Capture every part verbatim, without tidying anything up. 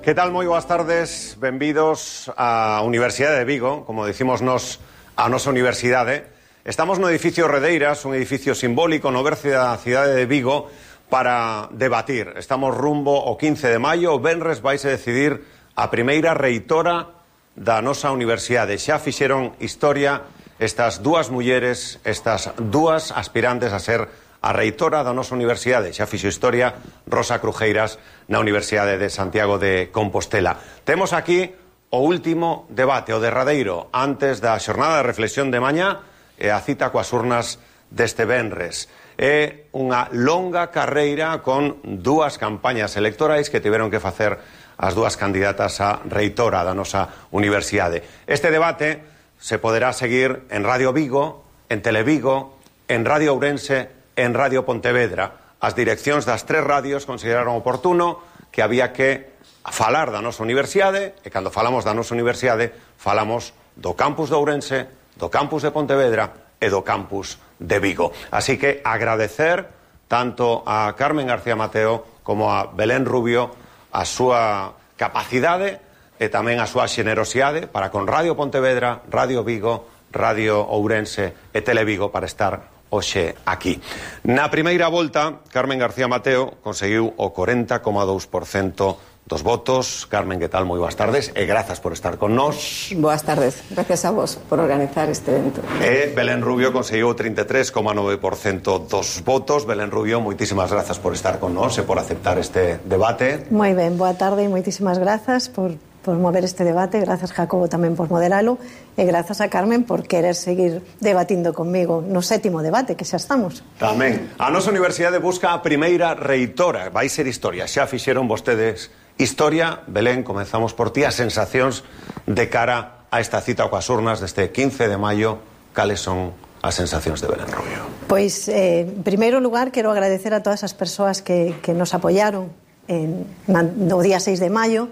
Que tal? Moi boas tardes, benvidos á Universidade de Vigo, como dicimos nos a nosa universidade. Estamos no edificio Redeiras, un edificio simbólico no berce da cidade de Vigo, para debatir. Estamos rumbo ao quince de maio, o venres vais a decidir a primeira reitora da nosa universidade. Xa fixeron historia estas dúas mulleres, estas dúas aspirantes a ser a reitora da nosa universidade. Xa fixo historia Rosa Crujeiras na Universidade de Santiago de Compostela. Temos aquí o último debate, o derradeiro, antes da xornada de reflexión de mañá e a cita coas urnas deste venres. É unha longa carreira con dúas campañas electorais que tiveron que facer as dúas candidatas a reitora da nosa universidade. Este debate se poderá seguir en Radio Vigo, en Televigo, en Radio Ourense, en Radio Pontevedra. As direccións das tres radios consideraron oportuno que había que falar da nosa universidade, e cando falamos da nosa universidade falamos do campus de Ourense, do campus de Pontevedra e do campus de Vigo. Así que agradecer tanto a Carmen García Mateo como a Belén Rubio a súa capacidade e tamén a súa xenerosidade para con Radio Pontevedra, Radio Vigo, Radio Ourense e Televigo para estar hoxe aquí. Na primeira volta, Carmen García Mateo conseguiu o corenta coma dous por cento dos votos. Carmen, que tal? Moi boas tardes e grazas por estar con nós. Boas tardes, gracias a vos por organizar este evento. E Belén Rubio conseguiu o trinta e tres coma nove por cento dos votos. Belén Rubio, moitísimas grazas por estar con nós e por aceptar este debate. Moi ben, boa tarde e moitísimas grazas por por mover este debate, grazas Jacobo tamén por moderalo e grazas a Carmen por querer seguir debatindo conmigo no sétimo debate, que xa estamos. Tamén. A nosa universidade busca a primeira reitora, vai ser historia, xa fixeron vostedes historia. Belén, comenzamos por ti, as sensacións de cara a esta cita coas urnas deste quince de maio, cales son as sensacións de Belén Rubio? Pois, eh, en primeiro lugar, quero agradecer a todas as persoas que, que nos apoyaron en, no día seis de maio.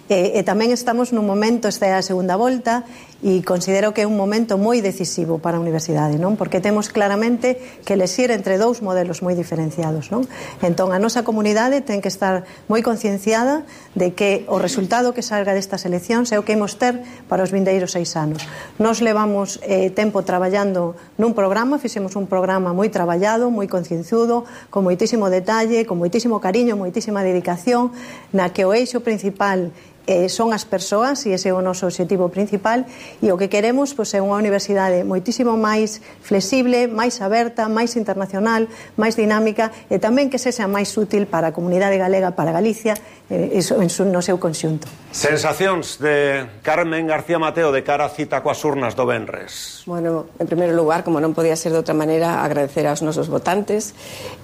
E, e tamén estamos nun momento, esta é a segunda volta, e considero que é un momento moi decisivo para a universidade, non? Porque temos claramente que elegir entre dous modelos moi diferenciados, non? Entón, a nosa comunidade ten que estar moi concienciada de que o resultado que salga destas eleccións é o que imos ter para os vindeiros seis anos. Nos levamos eh, tempo traballando nun programa, fixemos un programa moi traballado, moi concienciudo, con moitísimo detalle, con moitísimo cariño, moitísima dedicación, na que o eixo principal Eh, son as persoas, e ese é o noso objetivo principal, e o que queremos pois, é unha universidade moitísimo máis flexible, máis aberta, máis internacional, máis dinámica, e tamén que sexa máis útil para a comunidade galega, para Galicia, eh, eso, en su, no seu conxunto. Sensacións de Carmen García Mateo de cara a cita coas urnas do venres. Bueno, en primeiro lugar, como non podía ser de outra maneira, agradecer aos nosos votantes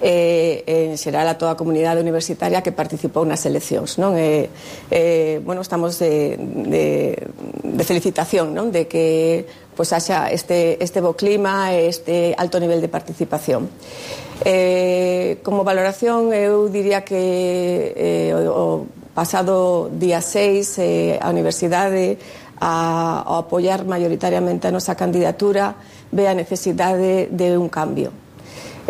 e, eh, en xeral a toda a comunidade universitaria que participou nas eleccións, non? E, eh, bueno, estamos de, de, de felicitación, non? De que pois haxa este, este bo clima e este alto nivel de participación. Eh, como valoración, eu diría que eh, o, o pasado día seis eh, a universidade a, a apoiar maioritariamente a nosa candidatura ve a necesidade de un cambio.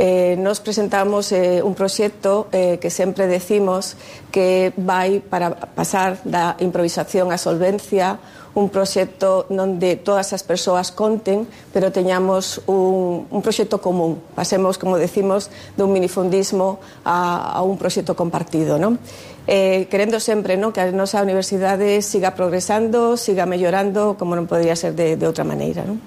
Eh, nos presentamos eh, un proxecto eh, que sempre decimos que vai para pasar da improvisación á solvencia, un proxecto onde todas as persoas conten, pero teñamos un, un proxecto común. Pasemos, como decimos, dun minifundismo a, a un proxecto compartido, non? Eh, querendo sempre, non, que a nosa universidade siga progresando, siga mellorando, como non podría ser de, de outra maneira, non?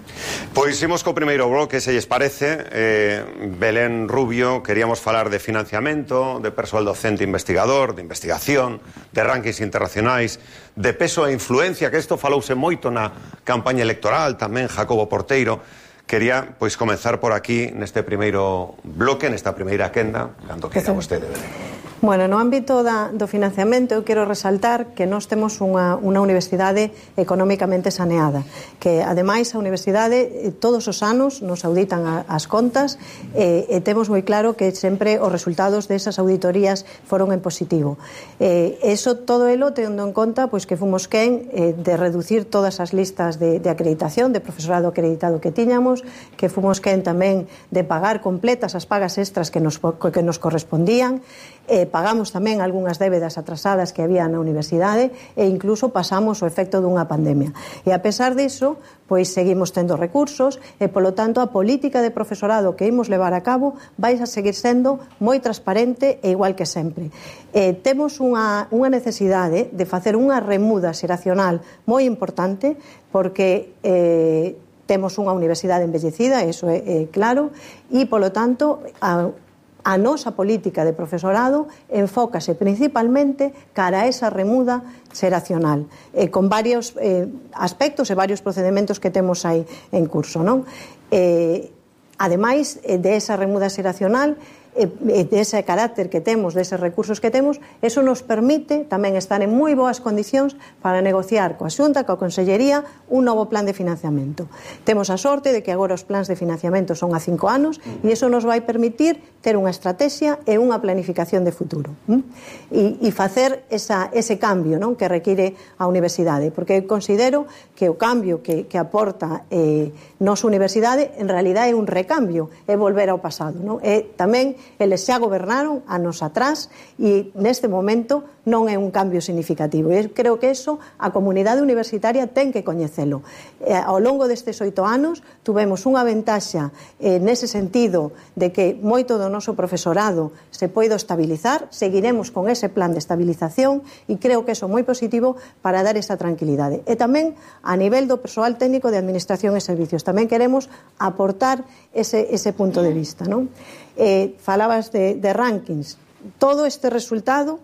Pois imos co primeiro bloque, se lles parece. eh, Belén Rubio, queríamos falar de financiamento, de persoal docente investigador, de investigación, de rankings internacionais, de peso e influencia, que isto falouse moito na campaña electoral, tamén Jacobo Porteiro. Quería, pois, comenzar por aquí, neste primeiro bloque, nesta primeira quenda, cando queira vostede, Belén. Bueno, no ámbito da, do financiamento eu quero resaltar que nós temos unha, unha universidade económicamente saneada, que ademais a universidade todos os anos nos auditan a, as contas e, e temos moi claro que sempre os resultados desas auditorías foron en positivo. Eh, eso todo elo tendo en conta pois, que fomos quen eh, de reducir todas as listas de, de acreditación, de profesorado acreditado que tiñamos, que fomos quen tamén de pagar completas as pagas extras que nos, que nos correspondían, eh, pagamos tamén algunhas débedas atrasadas que había na universidade e incluso pasamos o efecto dunha pandemia. E a pesar diso, pois seguimos tendo recursos e, polo tanto, a política de profesorado que imos levar a cabo vai a seguir sendo moi transparente e igual que sempre. Eh, temos unha, unha necesidade de facer unha remuda xeracional moi importante porque eh, temos unha universidade envellecida, iso é, é claro, e, polo tanto, a A nosa política de profesorado enfócase principalmente cara a esa remuda xeracional, eh, con varios eh, aspectos e varios procedementos que temos aí en curso, non? Eh, ademais eh, de esa remuda xeracional, e dese carácter que temos, deses recursos que temos, eso nos permite tamén estar en moi boas condicións para negociar coa Xunta, coa Consellería, un novo plan de financiamento. Temos a sorte de que agora os plans de financiamento son a cinco anos e iso nos vai permitir ter unha estrategia e unha planificación de futuro. E, e facer esa, ese cambio, non, que require a universidade, porque considero que o cambio que, que aporta eh, nosa universidade en realidade é un recambio, é volver ao pasado, non? É tamén eles xa gobernaron anos atrás e neste momento non é un cambio significativo. E creo que eso a comunidade universitaria ten que coñecelo. E, ao longo destes oito anos tuvemos unha ventaxa eh, nese sentido de que moito do noso profesorado se poido estabilizar, seguiremos con ese plan de estabilización e creo que eso é moi positivo para dar esa tranquilidade. E tamén a nivel do persoal técnico de Administración e Servicios tamén queremos aportar ese, ese punto de vista, non? Eh, falabas de, de rankings. Todo este resultado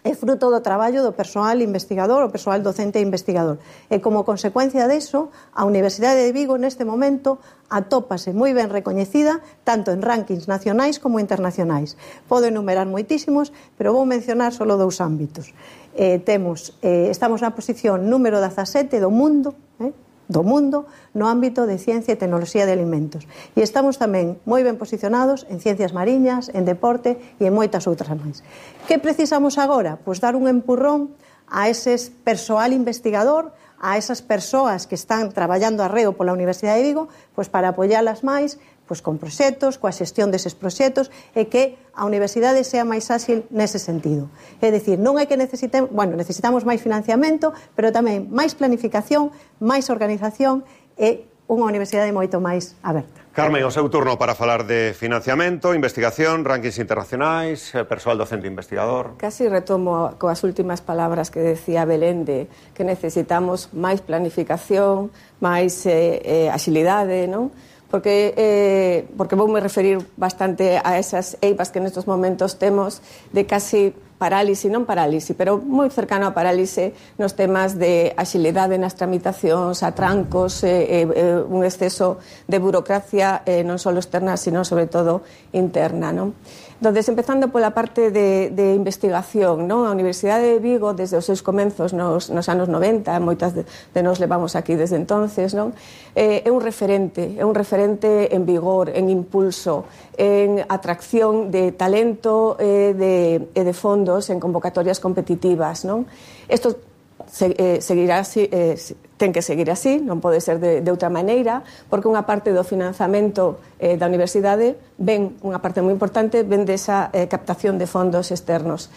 é fruto do traballo do persoal investigador, o persoal docente e investigador. E como consecuencia deso, a Universidade de Vigo neste momento atópase moi ben recoñecida tanto en rankings nacionais como internacionais. Podo enumerar moitísimos, pero vou mencionar só dous ámbitos. Eh, temos, eh, estamos na posición número dezasete do mundo, eh, do mundo no ámbito de ciencia e tecnoloxía de alimentos. E estamos tamén moi ben posicionados en ciencias mariñas, en deporte e en moitas outras máis. Que precisamos agora? Pois dar un empurrón a ese persoal investigador, a esas persoas que están traballando arreo pola Universidade de Vigo, pois para apoialas máis, pois con proxectos, coa xestión deses proxectos e que a universidade sea máis áxil nese sentido. É dicir, non é que necesitemos, bueno, necesitamos máis financiamento, pero tamén máis planificación, máis organización e unha universidade moito máis aberta. Carmen, o seu turno para falar de financiamento, investigación, rankings internacionais, persoal docente investigador. Casi retomo coas últimas palabras que decía Belén de que necesitamos máis planificación, máis eh, eh, axilidade, non? Porque, eh, porque vou me referir bastante a esas eivas que nestes momentos temos de casi parálise, non parálise, pero moi cercano a parálise nos temas de axilidade nas tramitacións, atrancos, eh, eh, un exceso de burocracia eh, non só externa, sino sobre todo interna, non? Entonces, empezando pola parte de, de investigación, non? A Universidade de Vigo, desde os seus comenzos nos, nos anos noventa, moitas de, de nos levamos aquí desde entonces, non? Eh, é un referente, é un referente en vigor, en impulso, en atracción de talento e eh, de, eh, de fondos en convocatorias competitivas, non? Isto se, eh, seguirá así, eh, ten que seguir así, non pode ser de, de outra maneira, porque unha parte do financiamento eh, da universidade ven, unha parte moi importante, ven desa eh, captación de fondos externos.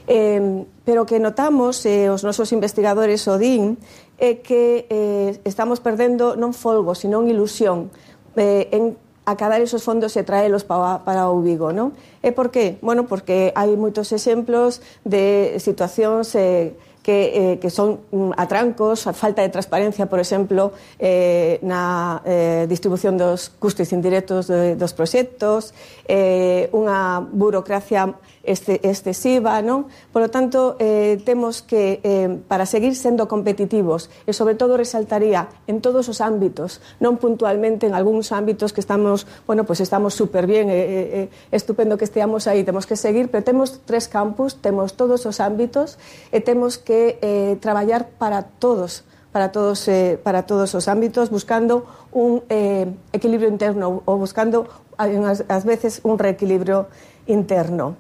Eh, pero que notamos, eh, os nosos investigadores o din, é que eh, estamos perdendo non folgo, sino ilusión eh, en acabar esos fondos e traelos para, para o Vigo, non? E por qué? Bueno, porque hai moitos exemplos de situacións eh, que, eh, que son atrancos, a falta de transparencia, por exemplo, eh, na eh, distribución dos custes indirectos de, dos proxectos, eh, unha burocracia este, excesiva, non? Por lo tanto, eh, temos que, eh, para seguir sendo competitivos, e sobre todo resaltaría en todos os ámbitos, non puntualmente en algúns ámbitos que estamos, bueno, pues estamos super bien, eh, eh, estupendo que esteamos aí, temos que seguir, pero temos tres campus, temos todos os ámbitos e temos que que eh, traballar para todos, para todos, eh, para todos os ámbitos, buscando un eh, equilibrio interno ou buscando, ás, ás veces, un reequilibrio interno.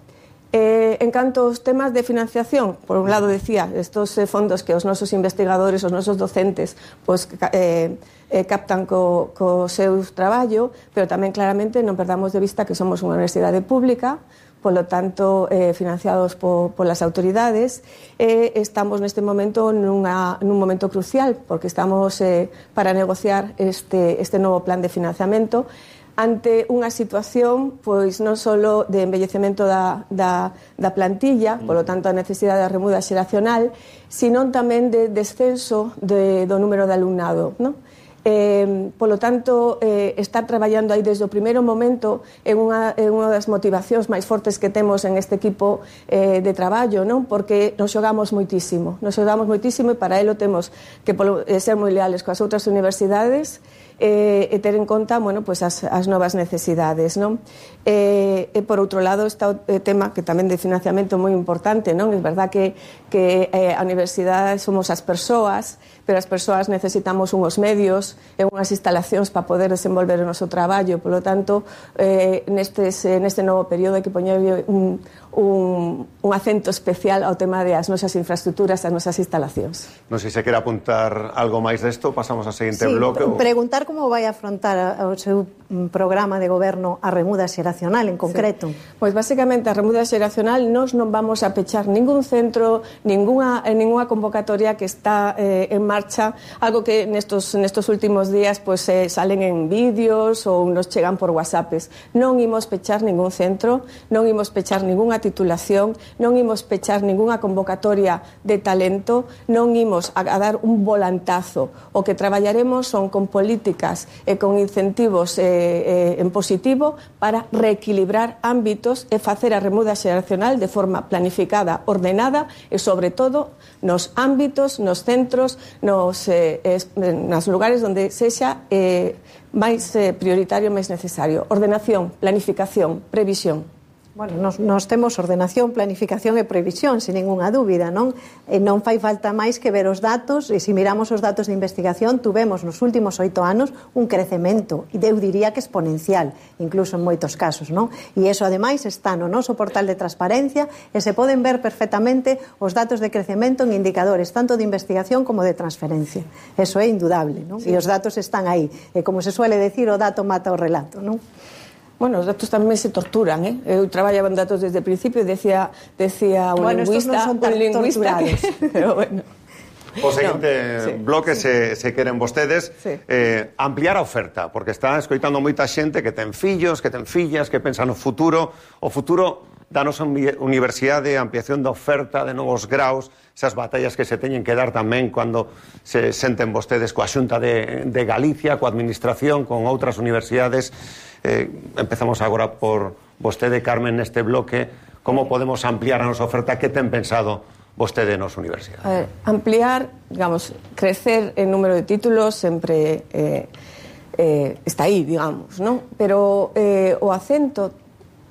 Eh, en canto aos temas de financiación, por un lado decía, estos eh, fondos que os nosos investigadores, os nosos docentes, pues, eh, eh, captan co, co seu traballo, pero tamén claramente non perdamos de vista que somos unha universidade pública, polo tanto, eh, financiados po, polas autoridades, e eh, estamos neste momento nunha, nun momento crucial, porque estamos eh, para negociar este, este novo plan de financiamento ante unha situación pois non só de envellecemento da, da, da plantilla, polo tanto a necesidade da remuda xeracional, sino tamén de descenso de, do número de alumnado, non? Eh, polo tanto, eh, estar traballando aí desde o primeiro momento é unha, é unha das motivacións máis fortes que temos en este equipo eh, de traballo, non? Porque nos xogamos moitísimo, nos xogamos moitísimo e para elo temos que polo, eh, ser moi leales coas outras universidades eh, e ter en conta, bueno, pues as, as novas necesidades, non? Eh, e por outro lado está o tema que tamén de financiamento moi importante, non? É verdad que, que eh, a universidade somos as persoas, pero as persoas necesitamos unhos medios e unhas instalacións para poder desenvolver o noso traballo, polo tanto eh, nestes, neste novo período hai que poñer un, un, un acento especial ao tema das nosas infraestructuras, das nosas instalacións. Non sei se quere apuntar algo máis desto, pasamos ao seguinte sí, bloque. Ou... preguntar como vai afrontar o seu programa de goberno a remuda xeracional en concreto. Sí. Pois basicamente a remuda xeracional nós non vamos a pechar ningún centro, ninguna, ninguna convocatoria que está eh, en marcha, algo que nestos, nestos últimos días pues, eh, salen en vídeos ou nos chegan por whatsappes. Non imos pechar ningún centro, non imos pechar ningunha titulación, non imos pechar ningunha convocatoria de talento, non imos a, a dar un volantazo. O que traballaremos son con políticas e con incentivos eh, eh, en positivo para reequilibrar ámbitos e facer a remuda xeracional de forma planificada, ordenada e, sobre todo, nos ámbitos, nos centros, nos, eh, es, nos lugares onde sexa eh, máis eh, prioritario, máis necesario. Ordenación, planificación, previsión. Bueno, nos, nos temos ordenación, planificación e previsión, sin ninguna dúbida, non? E non fai falta máis que ver os datos, e se miramos os datos de investigación, tuvemos nos últimos oito anos un crecemento, e eu diría que exponencial, incluso en moitos casos, non? E iso, ademais, está no noso portal de transparencia, e se poden ver perfectamente os datos de crecemento en indicadores, tanto de investigación como de transferencia. Eso é indudable, non? Sí. E os datos están aí. E como se suele decir, o dato mata o relato, non? Bueno, os datos tamén se torturan, eh? Eu traballaba en datos desde o principio e decía, decía un bueno, lingüista, non son un lingüista que, pero bueno. O seguinte no, sí, bloque, sí. se, se queren vostedes, sí. eh, ampliar a oferta, porque está escoitando moita xente que ten fillos, que ten fillas, que pensa no futuro, o futuro da nosa universidade, a ampliación da oferta de novos graus, esas batallas que se teñen que dar tamén cando se senten vostedes coa Xunta de, de Galicia, coa administración, con outras universidades. Eh, empezamos agora por vostede, Carmen, neste bloque. Como podemos ampliar a nosa oferta? Que ten pensado vostede nos universidades? A ver, ampliar, digamos, crecer en número de títulos sempre eh, eh, está aí, digamos, non? Pero eh, o acento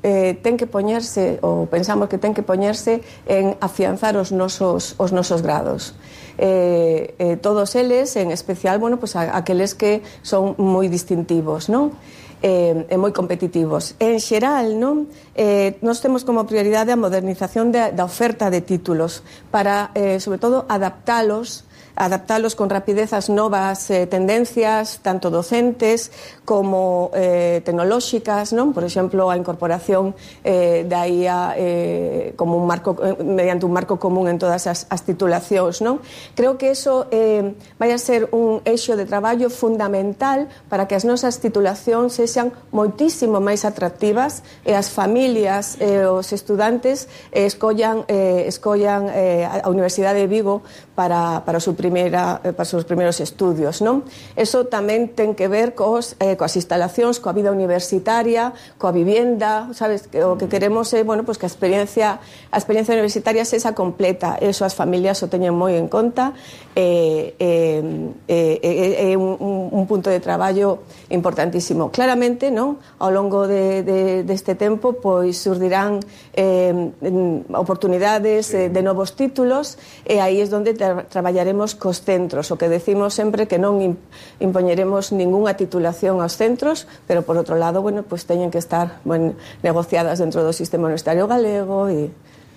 eh, ten que poñerse, ou pensamos que ten que poñerse en afianzar os nosos, os nosos grados. Eh, eh, todos eles, en especial, bueno, pues a, aqueles que son moi distintivos, non? Eh, e moi competitivos. En xeral, non? Eh, nós temos como prioridade a modernización de, da oferta de títulos para, eh, sobre todo, adaptalos adaptalos con rapidez ás novas eh, tendencias, tanto docentes como eh, tecnolóxicas, non? Por exemplo, a incorporación eh, da I A eh, como un marco, eh, mediante un marco común en todas as, as titulacións, non? Creo que eso eh, vai a ser un eixo de traballo fundamental para que as nosas titulacións sexan moitísimo máis atractivas e as familias e eh, os estudantes eh, escollan, eh, escollan eh, a Universidade de Vigo para, para o seu Primeira, para os seus primeiros estudios, non? Eso tamén ten que ver cos, eh, coas instalacións, coa vida universitaria, coa vivienda, sabes? O que queremos é, bueno, pues que a experiencia a experiencia universitaria sexa completa. Eso as familias o teñen moi en conta e eh, eh, eh, eh, un, un punto de traballo importantísimo. Claramente, non? Ao longo de, de, deste tempo, pois surdirán eh, oportunidades eh, de novos títulos e aí é onde tra traballaremos cos centros. O que decimos sempre que non impoñeremos ningunha titulación aos centros, pero por outro lado, bueno, pues teñen que estar, bueno, negociadas dentro do sistema universitario galego e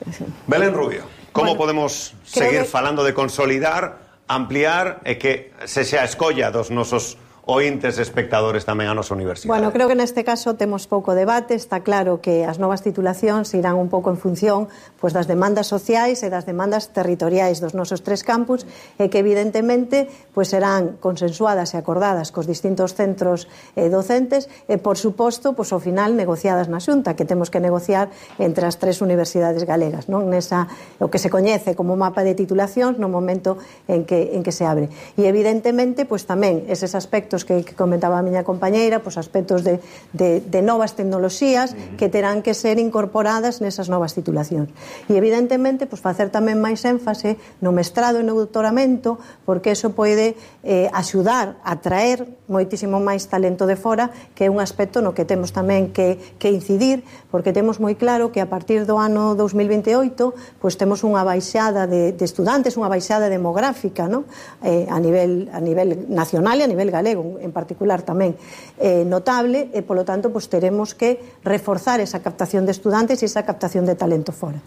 así. Belén Rubio, como bueno, podemos seguir que... falando de consolidar, ampliar e que se xa a escolla dos nosos ointes e espectadores tamén a nosa universidade? Bueno, creo que neste caso temos pouco debate. Está claro que as novas titulacións irán un pouco en función pois, das demandas sociais e das demandas territoriais dos nosos tres campus e que evidentemente pois, serán consensuadas e acordadas cos distintos centros eh, docentes e, por suposto, pois, ao final negociadas na Xunta, que temos que negociar entre as tres universidades galegas, non? Nesa, o que se coñece como mapa de titulacións no momento en que, en que se abre. E evidentemente, pois, tamén eses aspectos que, que comentaba a miña compañeira, pois aspectos de, de, de novas tecnoloxías que terán que ser incorporadas nesas novas titulacións. E evidentemente, pois facer tamén máis énfase no mestrado e no doutoramento, porque eso pode eh, axudar a traer moitísimo máis talento de fora, que é un aspecto no que temos tamén que, que incidir, porque temos moi claro que a partir do ano dos mil vinte e oito pois temos unha baixada de, de estudantes, unha baixada demográfica, non? Eh, a nivel a nivel nacional e a nivel galego en particular tamén eh, notable e polo tanto pues, teremos que reforzar esa captación de estudantes e esa captación de talento fora.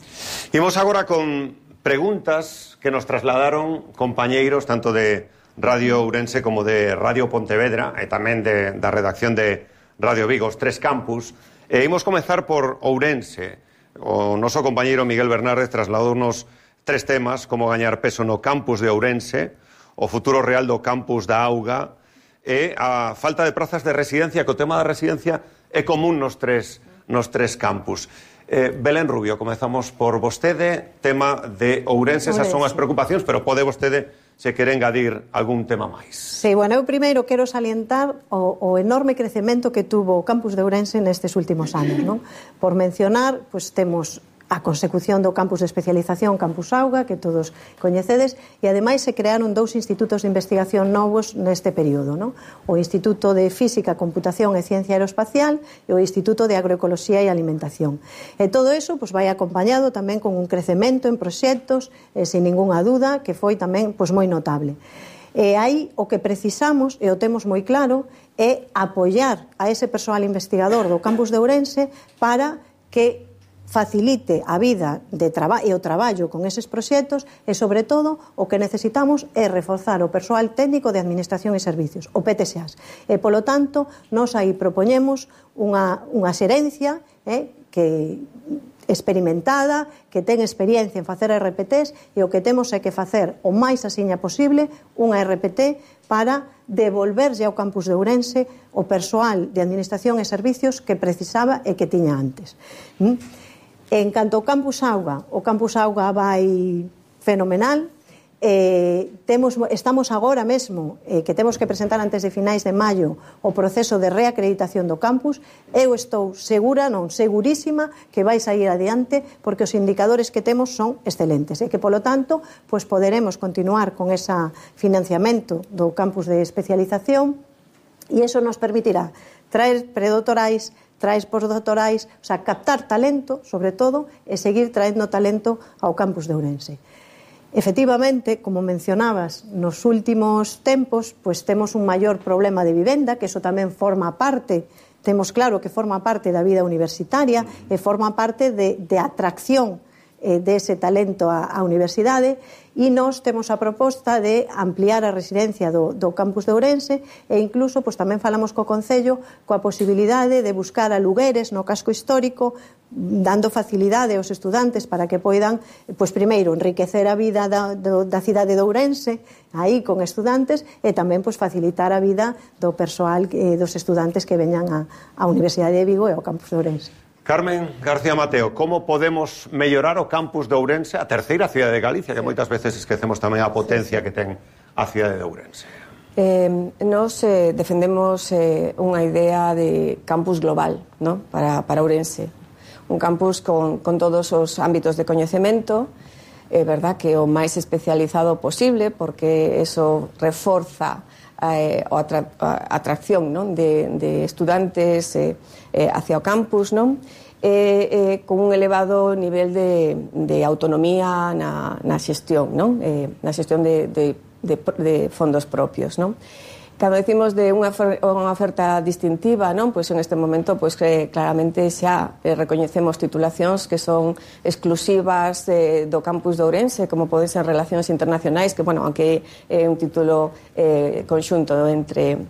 Imos agora con preguntas que nos trasladaron compañeiros tanto de Radio Ourense como de Radio Pontevedra e tamén de, da redacción de Radio Vigo, os tres campus. E imos comezar por Ourense. O noso compañeiro Miguel Bernárdez trasladounos tres temas, como gañar peso no campus de Ourense, o futuro real do campus da Auga e a falta de prazas de residencia, que o tema da residencia é común nos tres, nos tres campus. Eh, Belén Rubio, comezamos por vostede, tema de Ourense, esas son as preocupacións, pero pode vostede, se quere engadir algún tema máis. Sí, bueno, eu primeiro quero salientar o, o enorme crecemento que tuvo o campus de Ourense nestes últimos anos, non? Por mencionar, pues temos a consecución do campus de especialización Campus Auga, que todos coñecedes, e ademais se crearon dous institutos de investigación novos neste período, non? O Instituto de Física, Computación e Ciencia Aeroespacial e o Instituto de Agroecoloxía e Alimentación. E todo eso pues, vai acompañado tamén con un crecemento en proxectos, eh, sin ningunha duda, que foi tamén pues, moi notable. E aí o que precisamos, e o temos moi claro, é apoiar a ese persoal investigador do campus de Ourense para que facilite a vida de traba e o traballo con eses proxectos e, sobre todo, o que necesitamos é reforzar o persoal técnico de Administración e Servicios, o P T S A S. E, polo tanto, nós aí propoñemos unha, unha xerencia eh, que experimentada, que ten experiencia en facer R P Ts e o que temos é que facer o máis asiña posible unha R P T para devolverlle ao campus de Ourense o persoal de Administración e Servicios que precisaba e que tiña antes. ¿Mm? En canto ao Campus Auga, o Campus Auga vai fenomenal. Eh, temos, estamos agora mesmo eh, que temos que presentar antes de finais de maio o proceso de reacreditación do campus. Eu estou segura, non, segurísima que vai sair adiante porque os indicadores que temos son excelentes e que, polo tanto, pues poderemos continuar con ese financiamento do campus de especialización e eso nos permitirá traer predoctorais, traes postdoctorais, o sea, captar talento, sobre todo, e seguir traendo talento ao campus de Ourense. Efectivamente, como mencionabas, nos últimos tempos, pues temos un maior problema de vivenda, que eso tamén forma parte, temos claro que forma parte da vida universitaria e forma parte de, de atracción eh, dese talento á, á universidade, e nós temos a proposta de ampliar a residencia do, do campus de Ourense e incluso pues, tamén falamos co Concello coa posibilidade de buscar alugueres no casco histórico, dando facilidade aos estudantes para que poidan, pues, primeiro, enriquecer a vida da, do, da cidade de Ourense aí con estudantes e tamén pues, facilitar a vida do persoal eh, dos estudantes que veñan á, á Universidade de Vigo e ao campus de Ourense. Carmen García Mateo, como podemos mellorar o campus de Ourense, a terceira cidade de Galicia, que moitas veces esquecemos tamén a potencia que ten a cidade de Ourense? Eh, nos eh, defendemos eh, unha idea de campus global, ¿no? para, para Ourense. Un campus con, con todos os ámbitos de coñecemento, é eh, verdad que o máis especializado posible, porque eso reforza eh, a, atra a atracción, non? De, de estudantes eh, eh, hacia o campus, non? Eh, eh, con un elevado nivel de, de autonomía na, na xestión, non? Eh, na xestión de, de, de, de fondos propios, non? Cando decimos de unha, unha oferta distintiva, non? Pois en este momento, pois que claramente xa eh, recoñecemos titulacións que son exclusivas eh, do campus de Ourense, como poden ser relacións internacionais, que, bueno, aunque é un título eh, conxunto entre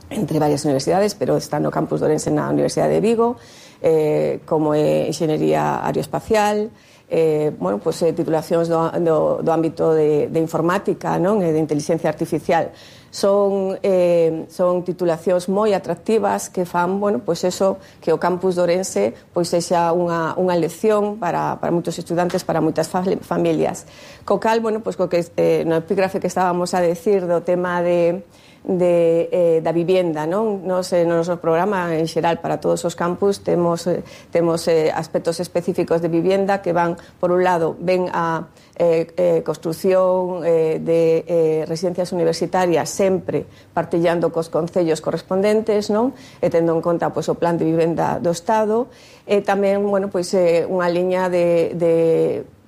entre varias universidades, pero está no campus de Ourense na Universidade de Vigo, eh, como é Enxeñería Aeroespacial, eh, bueno, pues, eh, titulacións do, do, do ámbito de, de informática, non? E de inteligencia artificial. Son, eh, son titulacións moi atractivas que fan, bueno, pues eso, que o campus de Ourense pois sexa unha, unha lección para, para moitos estudantes, para moitas familias. Co cal, bueno, pues, co que, eh, no epígrafe que estábamos a decir do tema de de, eh, da vivienda, non? Nos, eh, no noso programa, en xeral, para todos os campus, temos, eh, temos eh, aspectos específicos de vivienda que van, por un lado, ven a eh, eh, construción eh, de eh, residencias universitarias sempre partillando cos concellos correspondentes, non? E tendo en conta, pois, o plan de vivenda do Estado, e tamén, bueno, pois, eh, unha liña de, de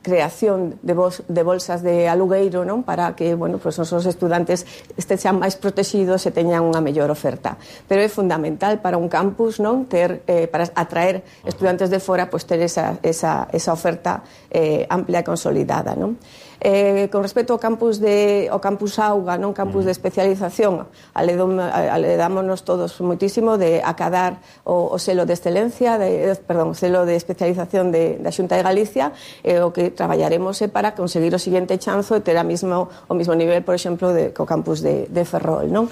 creación de, bol de bolsas de alugueiro, non? Para que, bueno, pues, os estudantes estexan máis protegidos e teñan unha mellor oferta. Pero é fundamental para un campus, non? Ter, eh, para atraer estudantes de fora, pues, ter esa, esa, esa oferta eh, amplia e consolidada, non? Eh, con respecto ao campus de ao campus Auga, non campus de especialización, aledámonos todos moitísimo de acadar o, o selo de excelencia, de, perdón, o selo de especialización de, da Xunta de Galicia, e eh, o que traballaremos é para conseguir o seguinte chanzo e ter a mismo, o mismo nivel, por exemplo, de, co campus de, de Ferrol, non?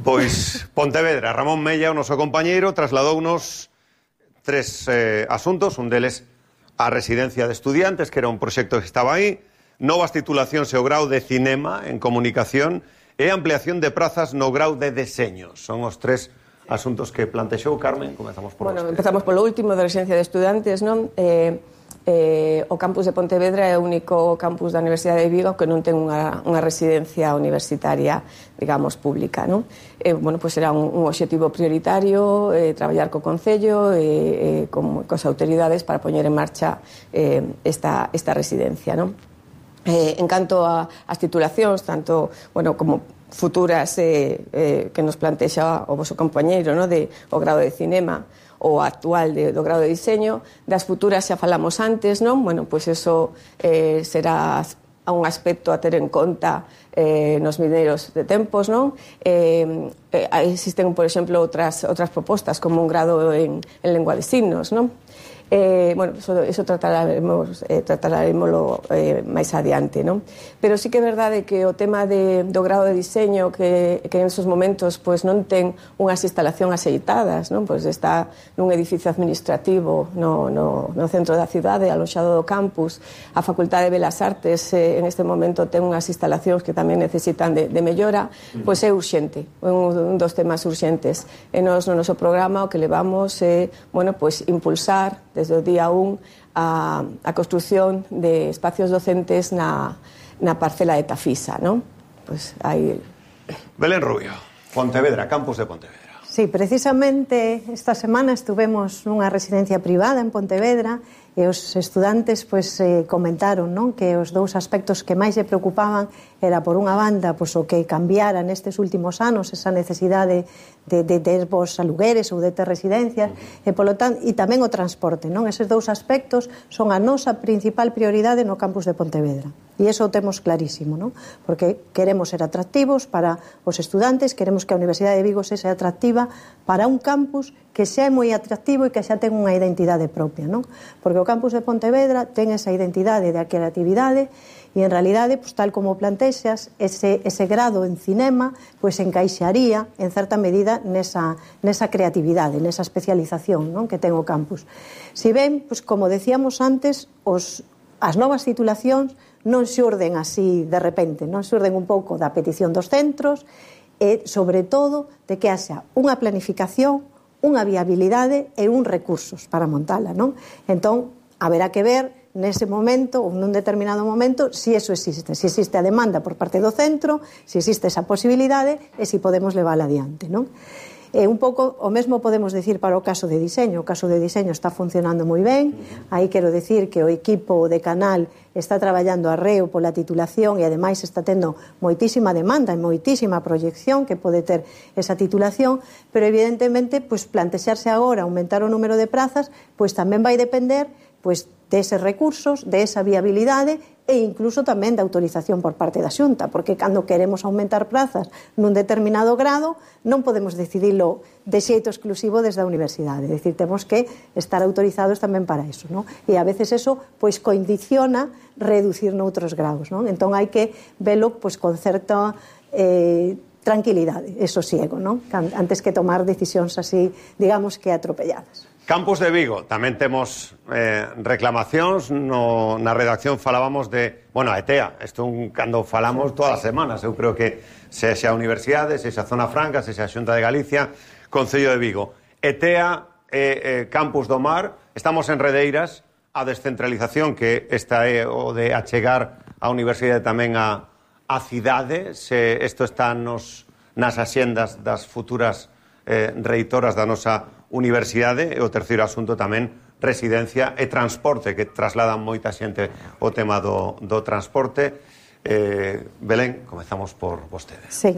Pois Pontevedra, Ramón Mella, o noso compañeiro, trasladounos tres eh, asuntos, un deles a residencia de estudiantes, que era un proxecto que estaba aí, novas titulacións e o grau de cinema en comunicación e ampliación de prazas no grau de deseño. Son os tres asuntos que plantexou Carmen. Comezamos por bueno, vostede. Empezamos polo último, de residencia de estudantes, non? Eh, eh, o campus de Pontevedra é o único campus da Universidade de Vigo que non ten unha, unha residencia universitaria, digamos, pública, non? Eh, bueno, pues era un, un obxectivo prioritario, eh, traballar co Concello e eh, con, cos autoridades para poñer en marcha eh, esta, esta residencia, non? Eh, en canto a, as titulacións, tanto, bueno, como futuras eh, eh, que nos plantexa o vosso compañeiro, no? De o grado de cinema o actual de, do grado de diseño, das futuras xa falamos antes, non? Bueno, pois pues eso eh, será un aspecto a ter en conta eh, nos mineiros de tempos, non? Eh, eh, existen, por exemplo, outras, outras propostas como un grado en, en lengua de signos, non? Eh, bueno, eso, eso tratararemos, eh, tratararemoslo eh, máis adiante, non? Pero sí que é verdade que o tema de, do grado de diseño que, que en esos momentos pues, non ten unhas instalacións axeitadas, non? Pues está nun edificio administrativo no, no, no centro da cidade, aloxado do campus. A Facultade de Belas Artes eh, en este momento ten unhas instalacións que tamén necesitan de, de mellora, pois é urxente, un, un dos temas urxentes. E nos no noso programa o que levamos é, eh, bueno, pues impulsar desde o día un a, a construción de espacios docentes na, na parcela de Tafisa, non? Pois aí... Belén Rubio, Pontevedra, campus de Pontevedra. Sí, precisamente esta semana estuvemos nunha residencia privada en Pontevedra e os estudantes pois, eh, comentaron, non? Que os dous aspectos que máis lle preocupaban era, por unha banda, pois, o que cambiara nestes últimos anos esa necesidade de, de ter vos alugueres ou de ter residencias, e, polo tanto, e tamén o transporte, non? Eses dous aspectos son a nosa principal prioridade no campus de Pontevedra. E iso o temos clarísimo, non? Porque queremos ser atractivos para os estudantes, queremos que a Universidade de Vigo sexa atractiva para un campus que xa é moi atractivo e que xa ten unha identidade propia, non? Porque o campus de Pontevedra ten esa identidade da creatividade e, en realidade, pues, tal como plantexas, ese, ese grado en cinema pues, encaixaría, en certa medida, nesa, nesa creatividade, nesa especialización, non? Que ten o campus. Si ben, pues, como decíamos antes, os, as novas titulacións non xurden así de repente, non xurden un pouco da petición dos centros e, sobre todo, de que haxa unha planificación, unha viabilidade e un recursos para montala, non? Entón, haberá que ver nese momento ou nun determinado momento si eso existe, si existe a demanda por parte do centro, si existe esa posibilidade e si podemos levála adiante, non? E un pouco o mesmo podemos decir para o caso de diseño. O caso de diseño está funcionando moi ben. Aí quero decir que o equipo de Canal está traballando arreo pola titulación e ademais está tendo moitísima demanda e moitísima proyección que pode ter esa titulación, pero evidentemente pues, plantexarse agora aumentar o número de prazas, pues tamén vai depender pues, de eses recursos, de esa viabilidade e incluso tamén de autorización por parte da Xunta, porque cando queremos aumentar prazas nun determinado grado non podemos decidilo de xeito exclusivo desde a universidade, é dicir, temos que estar autorizados tamén para eso, non? E a veces eso pois condiciona reducir noutros grados, non? Entón hai que velo pois con certa eh, tranquilidade e sosiego, non? Antes que tomar decisións así, digamos que atropelladas. Campus de Vigo, tamén temos eh, reclamacións, no, na redacción falábamos de, bueno, a ETEA, isto un, cando falamos todas as semanas, eu creo que sexa a Universidade, sexa a Zona Franca, sexa a Xunta de Galicia, Concello de Vigo. ETEA, eh, eh, Campus do Mar, estamos en redeiras, a descentralización, que esta é o de achegar a Universidade tamén a, a cidade, se isto está nos, nas axendas das futuras eh, reitoras da nosa Universidade. E o terceiro asunto tamén, residencia e transporte, que trasladan moita xente o tema do, do transporte. eh, Belén, comezamos por vostede. Sí.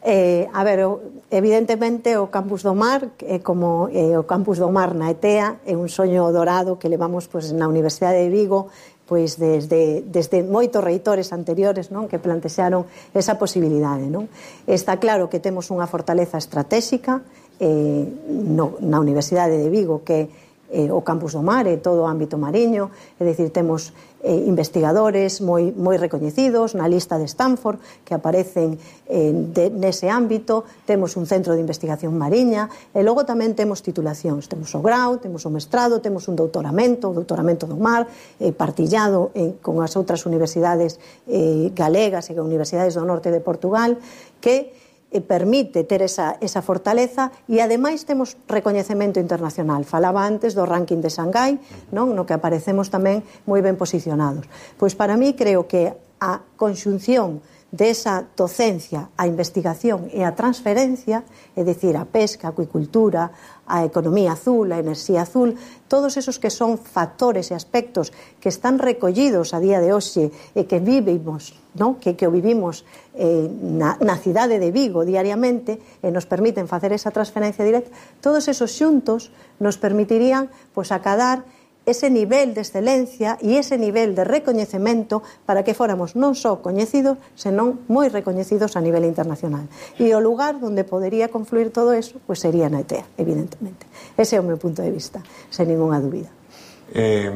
Eh, a ver, evidentemente o Campus do Mar, eh, como eh, o Campus do Mar na ETEA, é un soño dorado que levamos pues, na Universidade de Vigo pois desde, desde moitos reitores anteriores, non, que plantexaron esa posibilidade, non? Está claro que temos unha fortaleza estratégica eh, no, na Universidade de Vigo, que eh, o Campus do Mar e todo o ámbito mariño, é dicir, temos eh, investigadores moi, moi recoñecidos na lista de Stanford que aparecen eh, de, nese ámbito, temos un centro de investigación mariña e logo tamén temos titulacións, temos o grau, temos o mestrado, temos un doutoramento, o doutoramento do mar eh, partillado eh, con as outras universidades eh, galegas e universidades do norte de Portugal, que e permite ter esa, esa fortaleza e ademais temos recoñecemento internacional. Falaba antes do ranking de Xangai, non? No que aparecemos tamén moi ben posicionados. Pois para mí creo que a conxunción desa docencia, a investigación e a transferencia, é dicir, a pesca, a acuicultura, a economía azul, a enerxía azul, todos esos que son factores e aspectos que están recollidos a día de hoxe e que vivimos, non? Que, que o vivimos eh, na, na cidade de Vigo diariamente e nos permiten facer esa transferencia directa, todos esos xuntos nos permitirían pois, acadar ese nivel de excelencia e ese nivel de recoñecemento para que fóramos non só coñecidos, senón moi recoñecidos a nivel internacional. E o lugar onde podería confluir todo eso, pues sería na ETEA, evidentemente. Ese é o meu punto de vista, sen ninguna dúbida. Eh,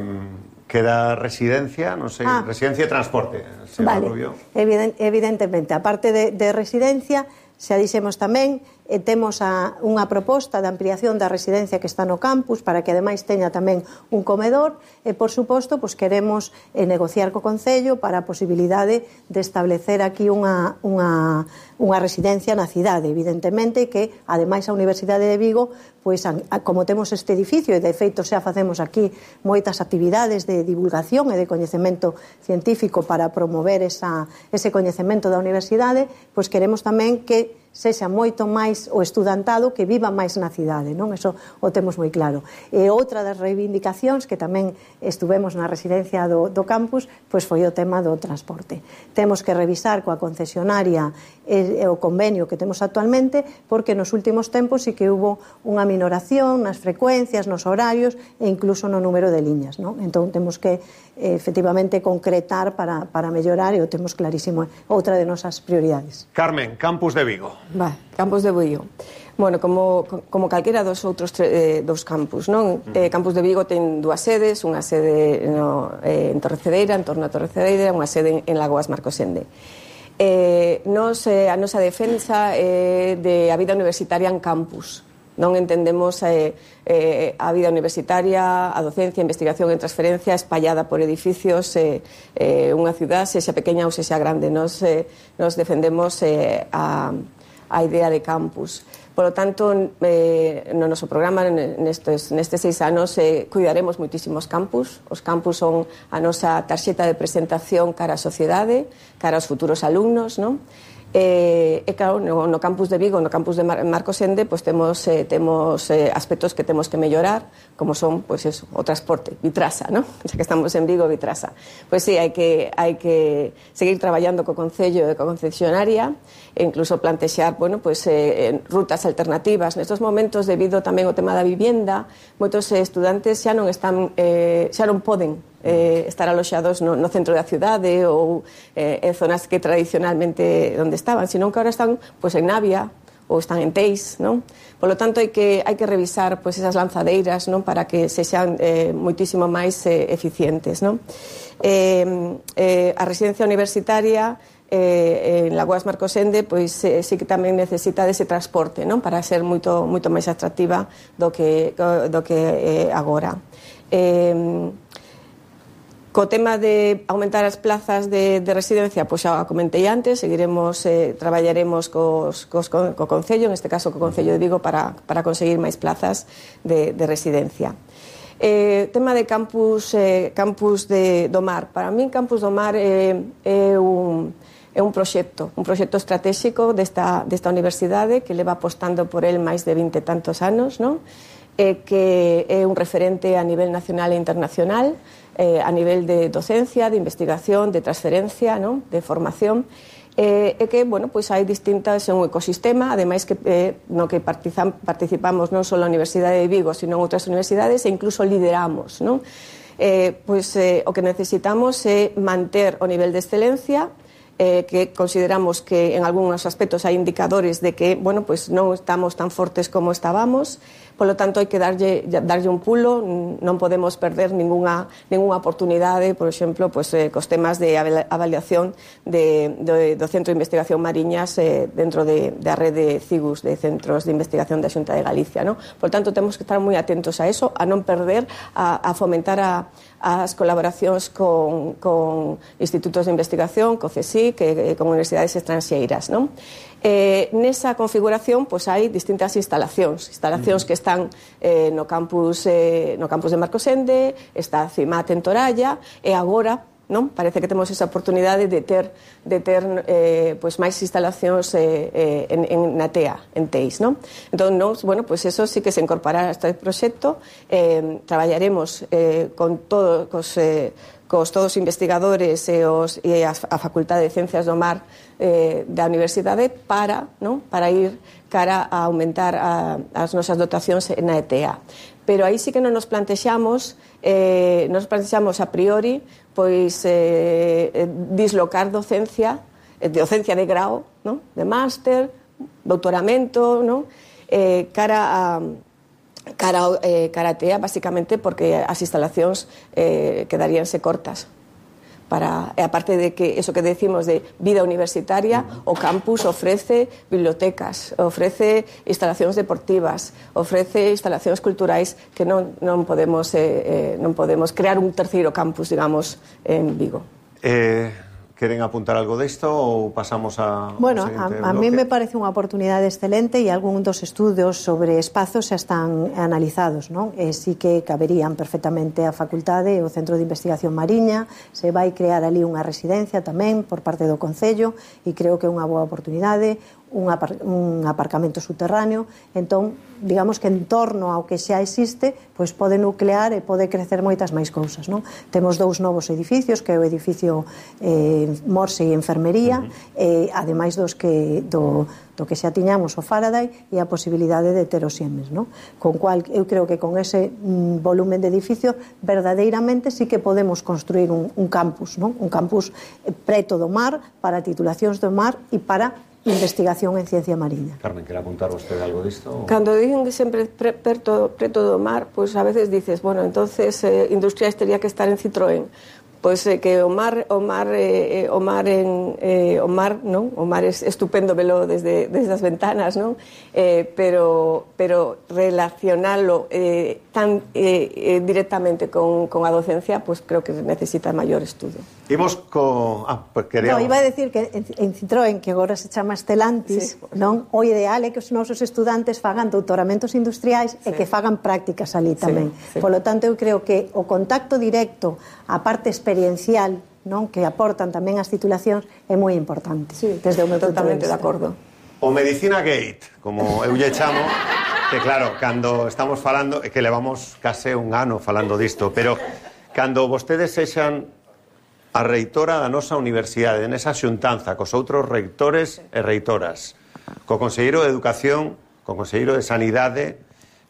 queda residencia, non sei, ah, residencia e transporte. Vale, Eviden, evidentemente, a parte de, de residencia, xa dixemos tamén, eh, temos a, unha proposta de ampliación da residencia que está no campus para que ademais teña tamén un comedor e, por suposto, pues, queremos eh, negociar co Concello para a posibilidade de establecer aquí unha, unha, unha residencia na cidade, evidentemente, que ademais a Universidade de Vigo, pues, a, a, como temos este edificio e de feito xa facemos aquí moitas actividades de divulgación e de coñecemento científico para promover esa, ese coñecemento da universidade, pues queremos tamén que sexa moito máis o estudantado que viva máis na cidade, non? Eso o temos moi claro. E outra das reivindicacións que tamén estuvemos na residencia do, do campus, pois foi o tema do transporte. Temos que revisar coa concesionaria e, e o convenio que temos actualmente, porque nos últimos tempos sí que hubo unha minoración nas frecuencias, nos horarios e incluso no número de liñas, non? Entón temos que eh, efectivamente concretar para, para mellorar e o temos clarísimo, outra de nosas prioridades. Carmen, Campus de Vigo. Va, Campus de Vigo. Bueno, como, como calquera dos outros eh, dos campus, non? Mm. Eh, Campus de Vigo ten dúas sedes, unha sede no, eh, en Torrecedeira, en torno a Torrecedeira, unha sede en, en Lagoas Marcosende. Eh, nos, eh, a nosa defensa é eh, de a vida universitaria en campus. Non entendemos eh, eh, a vida universitaria, a docencia, a investigación e transferencia espallada por edificios, eh, eh, unha cidade, sexa pequena ou sexa grande. Nos, eh, nos defendemos eh, a, a idea de campus. Por lo tanto, eh, no noso programa nestes, nestes seis anos eh, cuidaremos moitísimos campus. Os campus son a nosa tarxeta de presentación cara á sociedade, cara aos futuros alumnos, non? E, e claro, no, no campus de Vigo, no campus de Mar Marcosende, pues temos, eh, temos eh, aspectos que temos que mellorar, como son, pues eso, o transporte, Vitrasa, ¿no? Xa que estamos en Vigo, Vitrasa. Pues sí, hai que, hai que seguir traballando co Concello e co concesionaria, e incluso plantexar, bueno, pues, eh, rutas alternativas. Nestos momentos, debido tamén ao tema da vivienda, moitos eh, estudantes xa non están, eh, xa non poden eh, estar aloxados no, no centro da cidade ou eh, en zonas que tradicionalmente onde estaban, senón que ahora están pois, en Navia ou están en Teis, non? Por lo tanto, hai que, hai que revisar pois, esas lanzadeiras, non? Para que sexan eh, moitísimo máis eh, eficientes, non? Eh, eh, a residencia universitaria eh, en Lagoas Marcosende pois eh, sí que tamén necesita dese transporte, non? Para ser moito moito máis atractiva do que do que eh, agora. Eh, co tema de aumentar as plazas de, de residencia, pois xa comentei antes, seguiremos eh, traballaremos cos, cos, co, co Concello, en este caso co Concello de Vigo, para, para conseguir máis plazas de, de residencia. Eh, tema de campus, eh, campus de, do mar. Para min, Campus do Mar é, é un é un proxecto, un proxecto estratégico desta, desta universidade que leva apostando por el máis de vinte e tantos anos, non? Eh, que é un referente a nivel nacional e internacional, eh, a nivel de docencia, de investigación, de transferencia, non? De formación, eh, e que, bueno, pois hai distintas, é un ecosistema, ademais que eh, no que participamos non só a Universidade de Vigo, sino en outras universidades e incluso lideramos, non? Eh, pois eh, o que necesitamos é manter o nivel de excelencia, Eh, que consideramos que en algúns aspectos hai indicadores de que, bueno, pues non estamos tan fortes como estábamos, polo tanto hai que darlle, darlle un pulo, non podemos perder ninguna, ninguna oportunidade, por exemplo, pues, eh, cos temas de avaliación de, de, do Centro de Investigación Mariñas eh, dentro de, da rede CIGUS, de Centros de Investigación da Xunta de Galicia, ¿no? Por tanto, temos que estar moi atentos a eso, a non perder, a, a fomentar a as colaboracións con, con institutos de investigación, co CSIC, e con universidades estranxeiras, non? Eh, nesa configuración, pois hai distintas instalacións, instalacións que están eh, no campus eh, no campus de Marcosende, está a CIMAT en Toralla, e agora, non? Parece que temos esa oportunidade de ter de ter eh, pois máis instalacións eh, en, en na T E A, en Teis, non? Entón, nos, bueno, pois eso sí que se incorporará a este proxecto, eh, traballaremos eh, con todo, cos, eh, cos todos os investigadores e, os, e a, a Facultade de Ciencias do Mar eh, da Universidade para, non? Para ir cara a aumentar a, as nosas dotacións na E T A. Pero aí sí que non nos plantexamos eh, nos plantexamos a priori pois eh, dislocar docencia, eh, docencia de grao, non? De máster, doutoramento, non? Eh, cara a cara, eh, cara a T E A, basicamente porque as instalacións eh, quedaríanse cortas. Para, aparte de que eso que decimos de vida universitaria, o campus ofrece bibliotecas, ofrece instalacións deportivas, ofrece instalacións culturais que non, non, podemos, eh, eh, non podemos crear un terceiro campus, digamos, en Vigo. Eh... ¿Queren apuntar algo disto ou pasamos a... Bueno, a, a mí me parece unha oportunidade excelente e algún dos estudos sobre espazos xa están analizados, non? E sí que caberían perfectamente a facultade e o Centro de Investigación Mariña, se vai crear ali unha residencia tamén por parte do Concello e creo que é unha boa oportunidade, un, apar, un aparcamento subterráneo, entón, digamos que en torno ao que xa existe, pois pode nuclear e pode crecer moitas máis cousas, non? Temos dous novos edificios, que é o edificio eh, Morse e Enfermería, uh-huh. eh, ademais dos que, do, do que xa tiñamos o Faraday e a posibilidade de ter o Siemens, non? Con cual, eu creo que con ese mm, volumen de edificio, verdadeiramente sí que podemos construir un, un campus, non? Un campus preto do mar, para titulacións do mar e para investigación en ciencia mariña. Carmen, quer apuntar vostede algo disto? Cando dicen que sempre pre, preto, preto do mar, pois pues a veces dices, bueno, entonces eh, Industriais tería que estar en Citroën. Pois eh, que o mar, o mar, eh, o mar en eh, o mar, non? O mar é estupendo velo desde desde as ventanas, non? Eh, pero pero relacionalo eh, tan eh, eh, directamente con, con a docencia, pois pues creo que necesita maior estudo. Imos co... Ah, pues quería... No, iba a decir que en, en Citroën, que agora se chama Stellantis, sí, non? O ideal é que os nosos estudantes fagan doutoramentos industriais sí. e que fagan prácticas ali tamén. Sí, sí. Por lo tanto, eu creo que o contacto directo a parte experiencial, non, que aportan tamén as titulacións é moi importante. Sí, desde o meu totalmente de, de acordo. O Medicina Gate, como eu lle chamo, que claro, cando estamos falando, é que levamos case un ano falando disto, pero cando vostedes sexan a reitora da nosa universidade, nesa xuntanza cos outros reitores e reitoras, co Conselleiro de Educación, co Conselleiro de Sanidade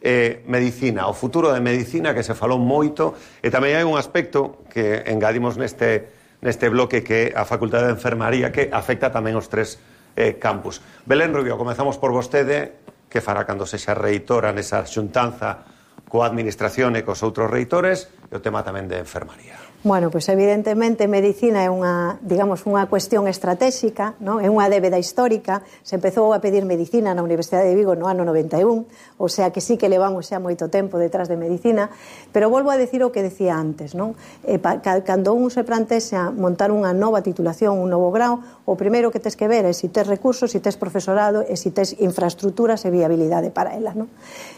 eh, medicina, o futuro de medicina, que se falou moito, e tamén hai un aspecto que engadimos neste, neste bloque, que é a Facultade de Enfermaría, que afecta tamén os tres eh, campus. Belén Rubio, comezamos por vostede. Que fará cando sexa reitora nesa xuntanza coa administración e cos outros reitores, e o tema tamén de enfermaría? Bueno, pois pues evidentemente medicina é unha, digamos, unha cuestión estratégica, non? É unha débeda histórica. Se empezou a pedir medicina na Universidade de Vigo no ano noventa e un, o sea que sí que levamos xa moito tempo detrás de medicina, pero volvo a decir o que decía antes, non? Eh, pa, cando un se plantexa montar unha nova titulación, un novo grau, o primeiro que tes que ver é se tes recursos, se tes profesorado e se tes infraestructuras e viabilidade para elas, non?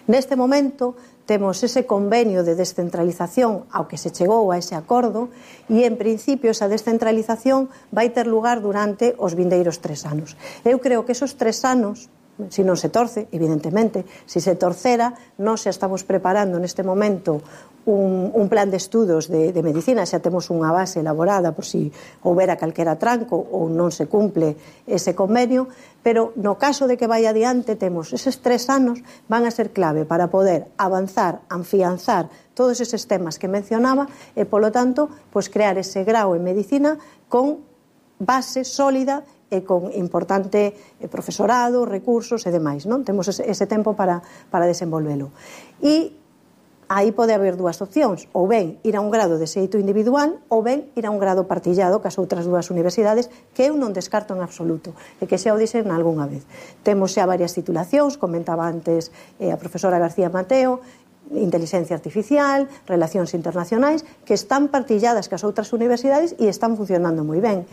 Neste momento temos ese convenio de descentralización ao que se chegou a ese acordo, e en principio esa descentralización vai ter lugar durante os vindeiros tres anos. Eu creo que esos tres anos, se non se torce, evidentemente, se se torcera, nós xa estamos preparando neste momento un, un plan de estudos de, de medicina, xa temos unha base elaborada por si houbera calquera tranco ou non se cumple ese convenio, pero no caso de que vai adiante, temos eses tres anos van a ser clave para poder avanzar, afianzar todos eses temas que mencionaba e, polo tanto, pues, crear ese grau en medicina con base sólida e con importante profesorado, recursos e demais, non? Temos ese, ese tempo para, para desenvolvelo. E aí pode haber dúas opcións, ou ben ir a un grado de xeito individual, ou ben ir a un grado partillado cas outras dúas universidades, que eu non descarto en absoluto, e que xa o dixen algunha vez. Temos xa varias titulacións, comentaba antes eh, a profesora García Mateo, inteligencia artificial, relacións internacionais, que están partilladas cas outras universidades e están funcionando moi ben.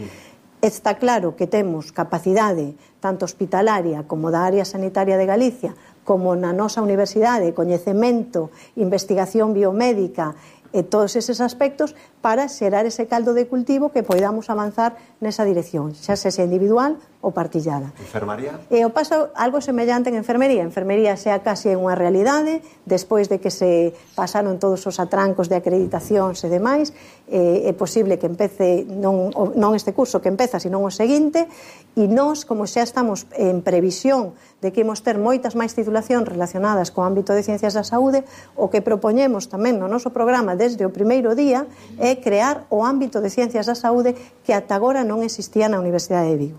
Está claro que temos capacidade tanto hospitalaria como da área sanitaria de Galicia, como na nosa universidade, coñecemento, investigación biomédica e todos eses aspectos para xerar ese caldo de cultivo que poidamos avanzar nesa dirección, xa sexa individual ou partillada. Enfermaría? E o paso algo semellante en enfermería. Enfermería xa casi é unha realidade, despois de que se pasaron todos os atrancos de acreditacións e demais, eh, é posible que empece, non, non este curso que empeza, sino o seguinte, e nós, como xa estamos en previsión de que imos ter moitas máis titulacións relacionadas co ámbito de ciencias da saúde, o que propoñemos tamén no noso programa desde o primeiro día é crear o ámbito de ciencias da saúde que ata agora non existía na Universidade de Vigo.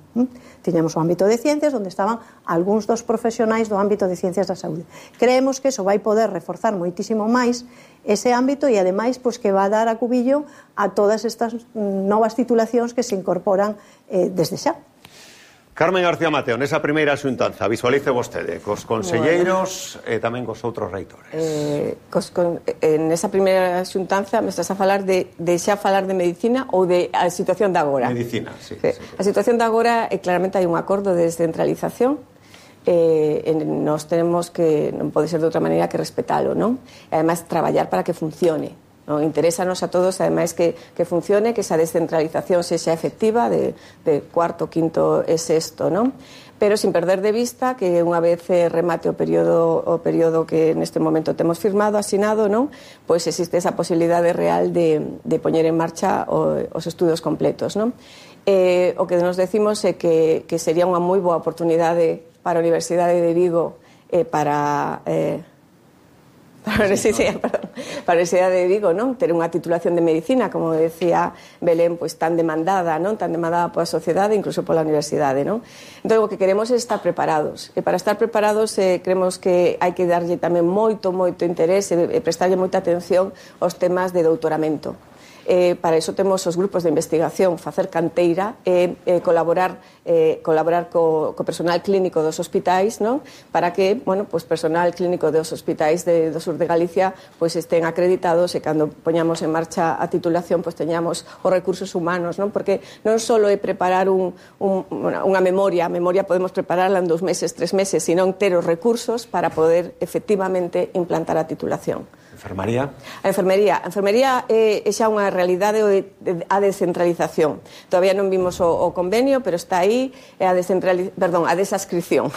Tiñamos o ámbito de ciencias onde estaban algúns dos profesionais do ámbito de ciencias da saúde. Creemos que eso vai poder reforzar moitísimo máis ese ámbito e ademais pois, que va a dar a cubillo a todas estas novas titulacións que se incorporan eh, desde xa. Carmen García Mateo, nesa primeira xuntanza, visualice vostede cos conselleiros e bueno, tamén cos outros reitores. Eh, cos, con, eh, nesa primeira xuntanza me estás a falar de, de xa falar de medicina ou de a situación de agora? Medicina, sí. sí. sí. A situación de agora, eh, claramente hai un acordo de descentralización, eh, en, nos tenemos que, non pode ser de outra maneira que respetalo, non? E ademais traballar para que funcione. No, interésanos a todos, ademais, que, que funcione, que esa descentralización sexa efectiva de, de cuarto, quinto e sexto, non? Pero sin perder de vista que unha vez remate o período, o período que neste momento temos firmado, asinado, non? Pois existe esa posibilidade real de, de poñer en marcha o, os estudos completos, non? Eh, o que nos decimos é que, que sería unha moi boa oportunidade para a Universidade de Vigo eh, para... Eh, Para a Universidade, perdón, para a Universidade de Vigo, non? Ter unha titulación de medicina, como decía Belén, pois tan demandada, non? Tan demandada pola sociedade, incluso pola universidade, non? Entón, o que queremos é estar preparados. E para estar preparados, eh, creemos que hai que darlle tamén moito, moito interés e, e prestarlle moita atención aos temas de doutoramento. Eh, para iso temos os grupos de investigación, facer canteira e eh, eh, colaborar eh, colaborar co, co personal clínico dos hospitais, non? Para que, bueno, pues personal clínico dos hospitais de, do sur de Galicia pues estén acreditados e cando poñamos en marcha a titulación pues teñamos os recursos humanos, non? Porque non só é preparar un, un, unha memoria, a memoria podemos prepararla en dos meses, tres meses, sino ter os recursos para poder efectivamente implantar a titulación. Enfermaría? A enfermería. A enfermería é, é xa unha realidade a descentralización. Todavía non vimos o, o convenio, pero está aí a descentralización, perdón, a desascripción.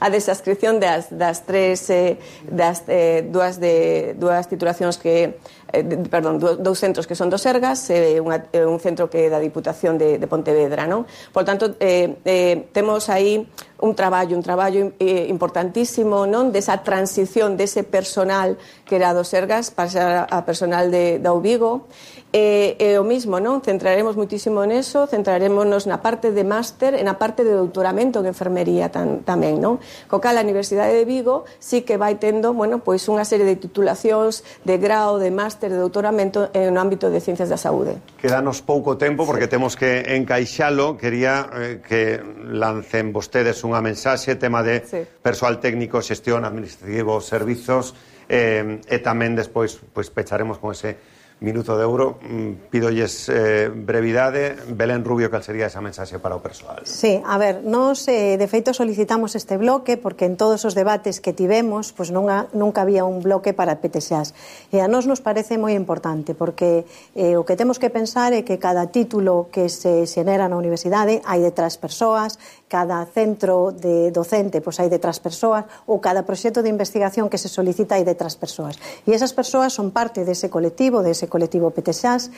A desascripción das, das tres eh, das eh, dúas de dúas titulacións que eh, perdón, dous centros que son do Sergas e unha, un centro que é da Diputación de, de Pontevedra, non? Por tanto, eh, eh, temos aí un traballo, un traballo eh, importantísimo, non? Desa transición dese personal que era do Sergas para a personal de, da U Vigo. E, e o mismo, non? Centraremos muitísimo neso, centrarémonos na parte de máster e na parte de doutoramento en enfermería tan, tamén, non? Co cal a Universidade de Vigo sí que vai tendo, bueno, pois unha serie de titulacións de grao, de máster, de doutoramento no ámbito de ciencias da saúde. Quedanos pouco tempo porque temos que encaixalo. Quería eh, que lancen vostedes unha mensaxe, tema de sí. persoal técnico, xestión, administrativo, servizos, eh, e tamén despois pois, pecharemos con ese minuto de euro. Pídolles eh, brevidade. Belén Rubio, cal sería esa mensaxe para o persoal? Sí, a ver, nos eh, de feito solicitamos este bloque porque en todos os debates que tivemos pues, nunca, nunca había un bloque para P T X A S, e a nos nos parece moi importante porque eh, o que temos que pensar é que cada título que se xenera na universidade hai detrás persoas, cada centro de docente pues, hai detrás persoas, ou cada proxecto de investigación que se solicita hai detrás persoas, e esas persoas son parte dese colectivo, dese colectivo P T X A S.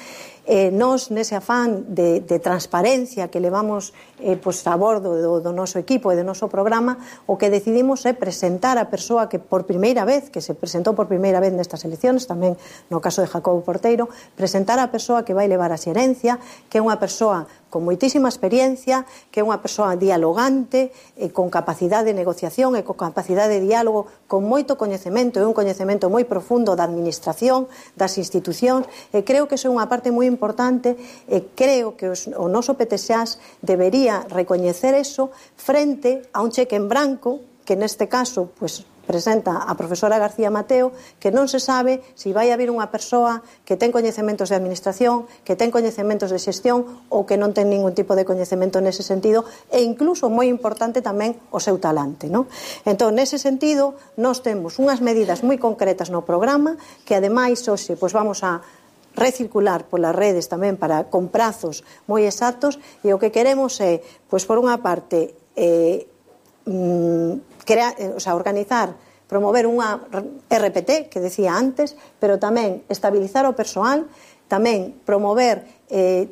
Eh, nos, nese afán de, de transparencia que levamos eh, pues, a bordo do, do noso equipo e do noso programa, o que decidimos é presentar a persoa que por primeira vez, que se presentou por primeira vez nestas eleccións, tamén no caso de Jacobo Porteiro, presentar a persoa que vai levar a xerencia, que é unha persoa con moitísima experiencia, que é unha persoa dialogante, e con capacidade de negociación e con capacidade de diálogo, con moito coñecemento e un coñecemento moi profundo da administración, das institucións, e creo que iso é unha parte moi importante, e creo que os, o noso P T X A S debería recoñecer eso frente a un cheque en branco, que neste caso, pues, presenta a profesora García Mateo, que non se sabe se vai haber unha persoa que ten coñecementos de administración, que ten coñecementos de xestión ou que non ten ningún tipo de coñecemento nese sentido, e incluso, moi importante tamén, o seu talante, non? Entón, nese sentido, nós temos unhas medidas moi concretas no programa que, ademais, hoxe, pois vamos a recircular polas redes tamén para con prazos moi exactos, e o que queremos é, pois por unha parte, eh, mm, Crea, o sea, organizar, promover unha R P T, que decía antes, pero tamén estabilizar o persoal, tamén promover eh,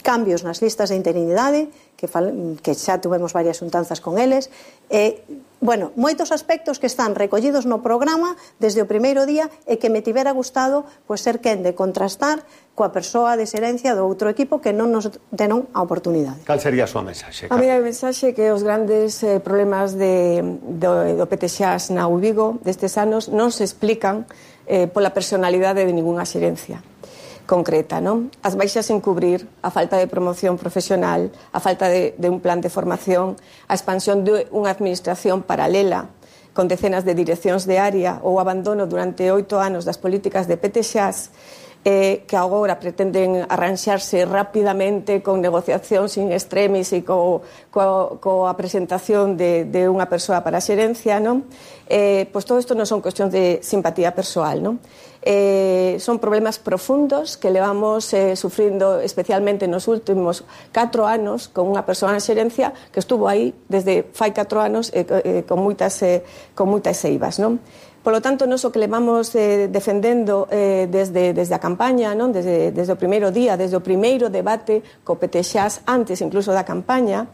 cambios nas listas de interinidade, que, fal, que xa tuvemos varias xuntanzas con eles, e, bueno, moitos aspectos que están recollidos no programa desde o primeiro día e que me tivera gustado pues, ser quen de contrastar coa persoa de xerencia do outro equipo que non nos denon a oportunidade. Cal sería a súa mensaxe? A miña mensaxe é que os grandes eh, problemas de, do, do P T X A S na U Vigo destes anos non se explican eh, pola personalidade de ningunha xerencia concreta, non? As baixas en cubrir, a falta de promoción profesional, a falta de, de un plan de formación, a expansión de unha administración paralela con decenas de direccións de área ou abandono durante oito anos das políticas de P T X A S, eh, que agora pretenden arranxarse rapidamente con negociación sin extremis e co, co, coa presentación de, de unha persoa para a xerencia, non? Eh, pois todo isto non son cuestións de simpatía persoal, non? Eh, son problemas profundos que levamos eh, sufrindo especialmente nos últimos catro anos con unha persoa en xerencia que estuvo aí desde fai catro anos eh, eh, con moitas eh, con moitas eivas, non? Polo tanto, nos o que levamos eh, defendendo eh, desde, desde a campaña, non? Desde, desde o primeiro día, desde o primeiro debate co P T X A S, antes incluso da campaña,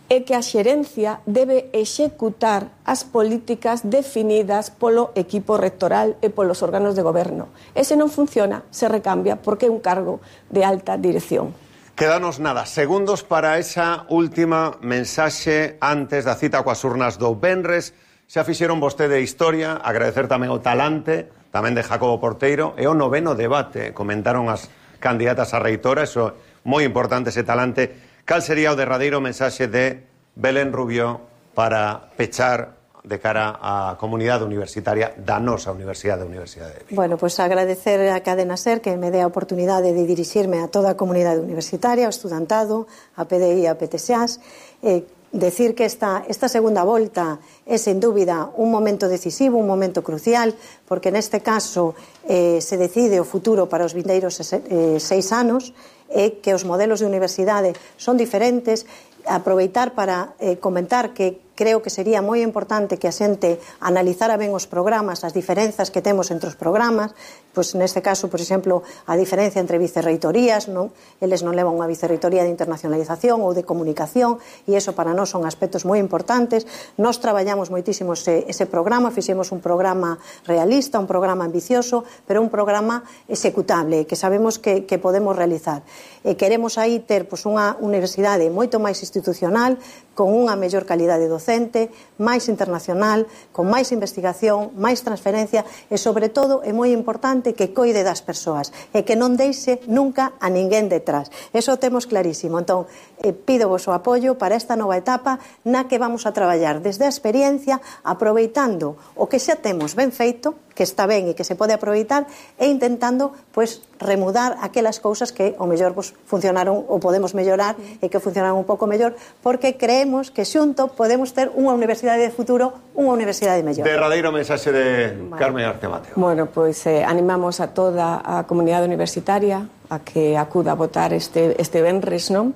é que a xerencia debe executar as políticas definidas polo equipo rectoral e polos órganos de goberno. E se non funciona, se recambia porque é un cargo de alta dirección. Quedanos nada, segundos para esa última mensaxe antes da cita coas urnas do venres. Xa fixeron vostede historia, agradecer tamén o talante, tamén de Jacobo Porteiro, e o noveno debate, comentaron as candidatas a reitora, eso moi importante ese talante. Cal sería o derradeiro mensaxe de Belén Rubio para pechar de cara á comunidade universitaria da nosa Universidade da Universidade de Vigo? Bueno, pois pues agradecer a Cadena SER que me dé a oportunidade de dirixirme a toda a comunidade universitaria, ao estudantado, a P D I e a P T X A S, eh, decir que esta, esta segunda volta é, sen dúbida, un momento decisivo, un momento crucial, porque neste caso eh, se decide o futuro para os vindeiros eh, seis anos, e eh, que os modelos de universidade son diferentes. Aproveitar para eh, comentar que creo que sería moi importante que a xente analizara ben os programas, as diferenzas que temos entre os programas, pois neste caso, por exemplo, a diferencia entre vicerreitorías, non? Eles non levan unha vicerreitoría de internacionalización ou de comunicación, e iso para nós son aspectos moi importantes. Nós traballamos moitísimo ese, ese programa, fixemos un programa realista, un programa ambicioso, pero un programa executable, que sabemos que, que podemos realizar. E queremos aí ter pois, unha universidade moito máis institucional, con unha mellor calidade docente, máis internacional, con máis investigación, máis transferencia e, sobre todo, é moi importante que coide das persoas e que non deixe nunca a ninguén detrás. Eso temos clarísimo. Entón, eh, pido vos o apoio para esta nova etapa na que vamos a traballar desde a experiencia, aproveitando o que xa temos ben feito, que está ben e que se pode aproveitar, e intentando, pois, remudar aquelas cousas que, o mellor, pois, funcionaron ou podemos mellorar e que funcionaron un pouco mellor, porque creemos que xunto podemos ter unha universidade de futuro, unha universidade mellor. Derradeiro mensaxe de Carmen García Mateo. Bueno, pois eh, animamos a toda a comunidade universitaria a que acuda a votar este, este venres, non?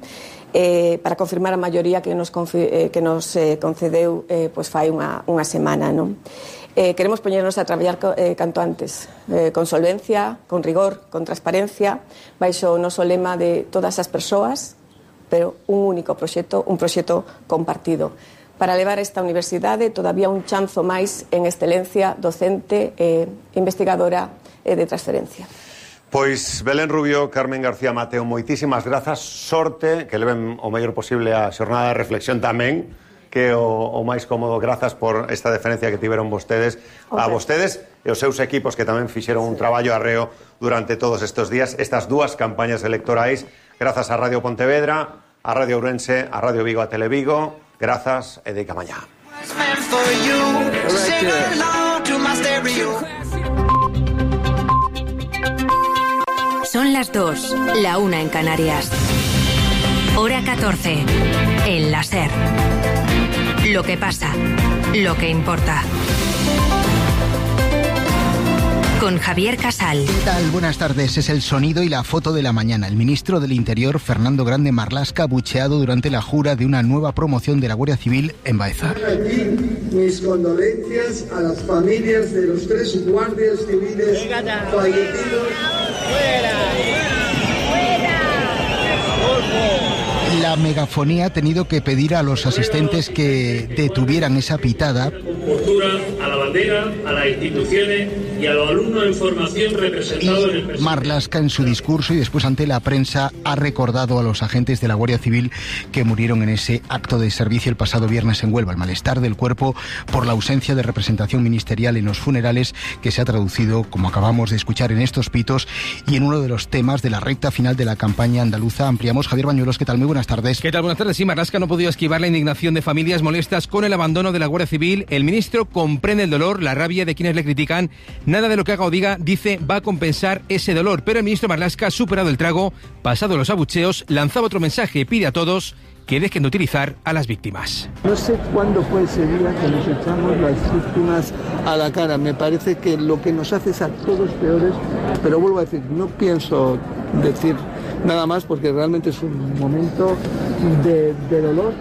Eh, para confirmar a maioría que nos, eh, que nos eh, concedeu eh, pois fai unha, unha semana, non? Eh, queremos poñernos a traballar eh, canto antes, eh, con solvencia, con rigor, con transparencia, baixo o noso lema de todas as persoas, pero un único proxecto, un proxecto compartido, para levar esta universidade todavía un chanzo máis en excelencia docente e eh, investigadora e eh, de transferencia. Pois Belén Rubio, Carmen García Mateo, moitísimas grazas, sorte, que leven o mellor posible a xornada de reflexión tamén, que o, o máis cómodo. Grazas por esta deferencia que tiveron vostedes, okay, a vostedes e os seus equipos que tamén fixeron un traballo arreo durante todos estes días, estas dúas campañas electorais. Grazas a Radio Pontevedra, a Radio Ourense, a Radio Vigo, a Televigo. Grazas e deica mañá. Son las dos, la una en Canarias. Hora catorce, en la SER. Lo que pasa, lo que importa. Con Javier Casal. ¿Qué tal? Buenas tardes. Es el sonido y la foto de la mañana. El ministro del Interior, Fernando Grande Marlaska, bucheado durante la jura de una nueva promoción de la Guardia Civil en Baeza. Aquí mis condolencias a las familias de los tres guardias civiles fallecidos. ¡Fuera! ¡Fuera! La megafonía ha tenido que pedir a los asistentes que detuvieran esa pitada. Postura a la bandera, a las instituciones y a los alumnos en formación representados en el presente. Marlaska, en su discurso y después ante la prensa, ha recordado a los agentes de la Guardia Civil que murieron en ese acto de servicio el pasado viernes en Huelva. El malestar del cuerpo por la ausencia de representación ministerial en los funerales, que se ha traducido, como acabamos de escuchar, en estos pitos y en uno de los temas de la recta final de la campaña andaluza. Ampliamos. Javier Bañuelos, ¿qué tal? Muy buenas tardes. ¿Qué tal? Buenas tardes. Sí, Marlaska no ha podido esquivar la indignación de familias molestas con el abandono de la Guardia Civil. El ministro comprende el dolor, la rabia de quienes le critican. Nada de lo que haga o diga, dice, va a compensar ese dolor. Pero el ministro Marlaska ha superado el trago, pasado los abucheos, lanzaba otro mensaje, pide a todos que dejen de utilizar a las víctimas. No sé cuándo fue ese día que nos echamos las víctimas a la cara. Me parece que lo que nos hace es a todos peores, pero vuelvo a decir, no pienso decir nada más porque realmente es un momento de, de dolor,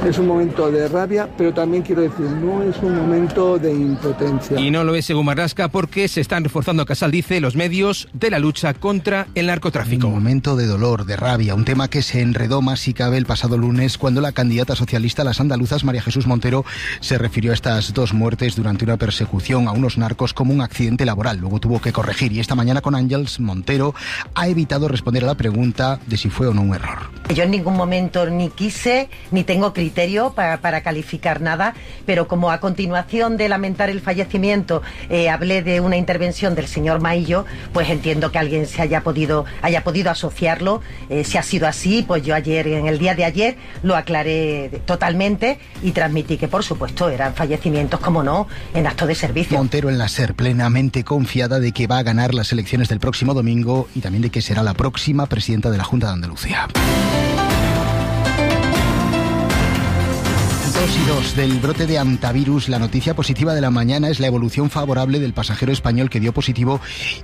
es un momento de rabia, pero también quiero decir, no es un momento de impotencia. Y no lo es según Marlaska porque se están reforzando, Casal dice, los medios de la lucha contra el narcotráfico. Un momento de dolor, de rabia, un tema que se enredó más si cabe el pasado lunes cuando la candidata socialista a las andaluzas, María Jesús Montero, se refirió a estas dos muertes durante una persecución a unos narcos como un accidente laboral. Luego tuvo que corregir y esta mañana con Ángels Montero ha evitado responder a la pregunta de si fue o no un error. Yo en ningún momento ni quise ni tengo criterio para, para calificar nada, pero como a continuación de lamentar el fallecimiento eh, hablé de una intervención del señor Maillo, pues entiendo que alguien se haya podido haya podido asociarlo. Eh, si ha sido así, pues yo ayer, en el día de ayer, lo aclaré totalmente y transmití que, por supuesto, eran fallecimientos, como no, en acto de servicio. Montero en la SER, plenamente confiada de que va a ganar las elecciones del próximo domingo y también de que será la próxima presidenta de la Junta de Andalucía. Dos y dos del brote de hantavirus, la noticia positiva de la mañana es la evolución favorable del pasajero español que dio positivo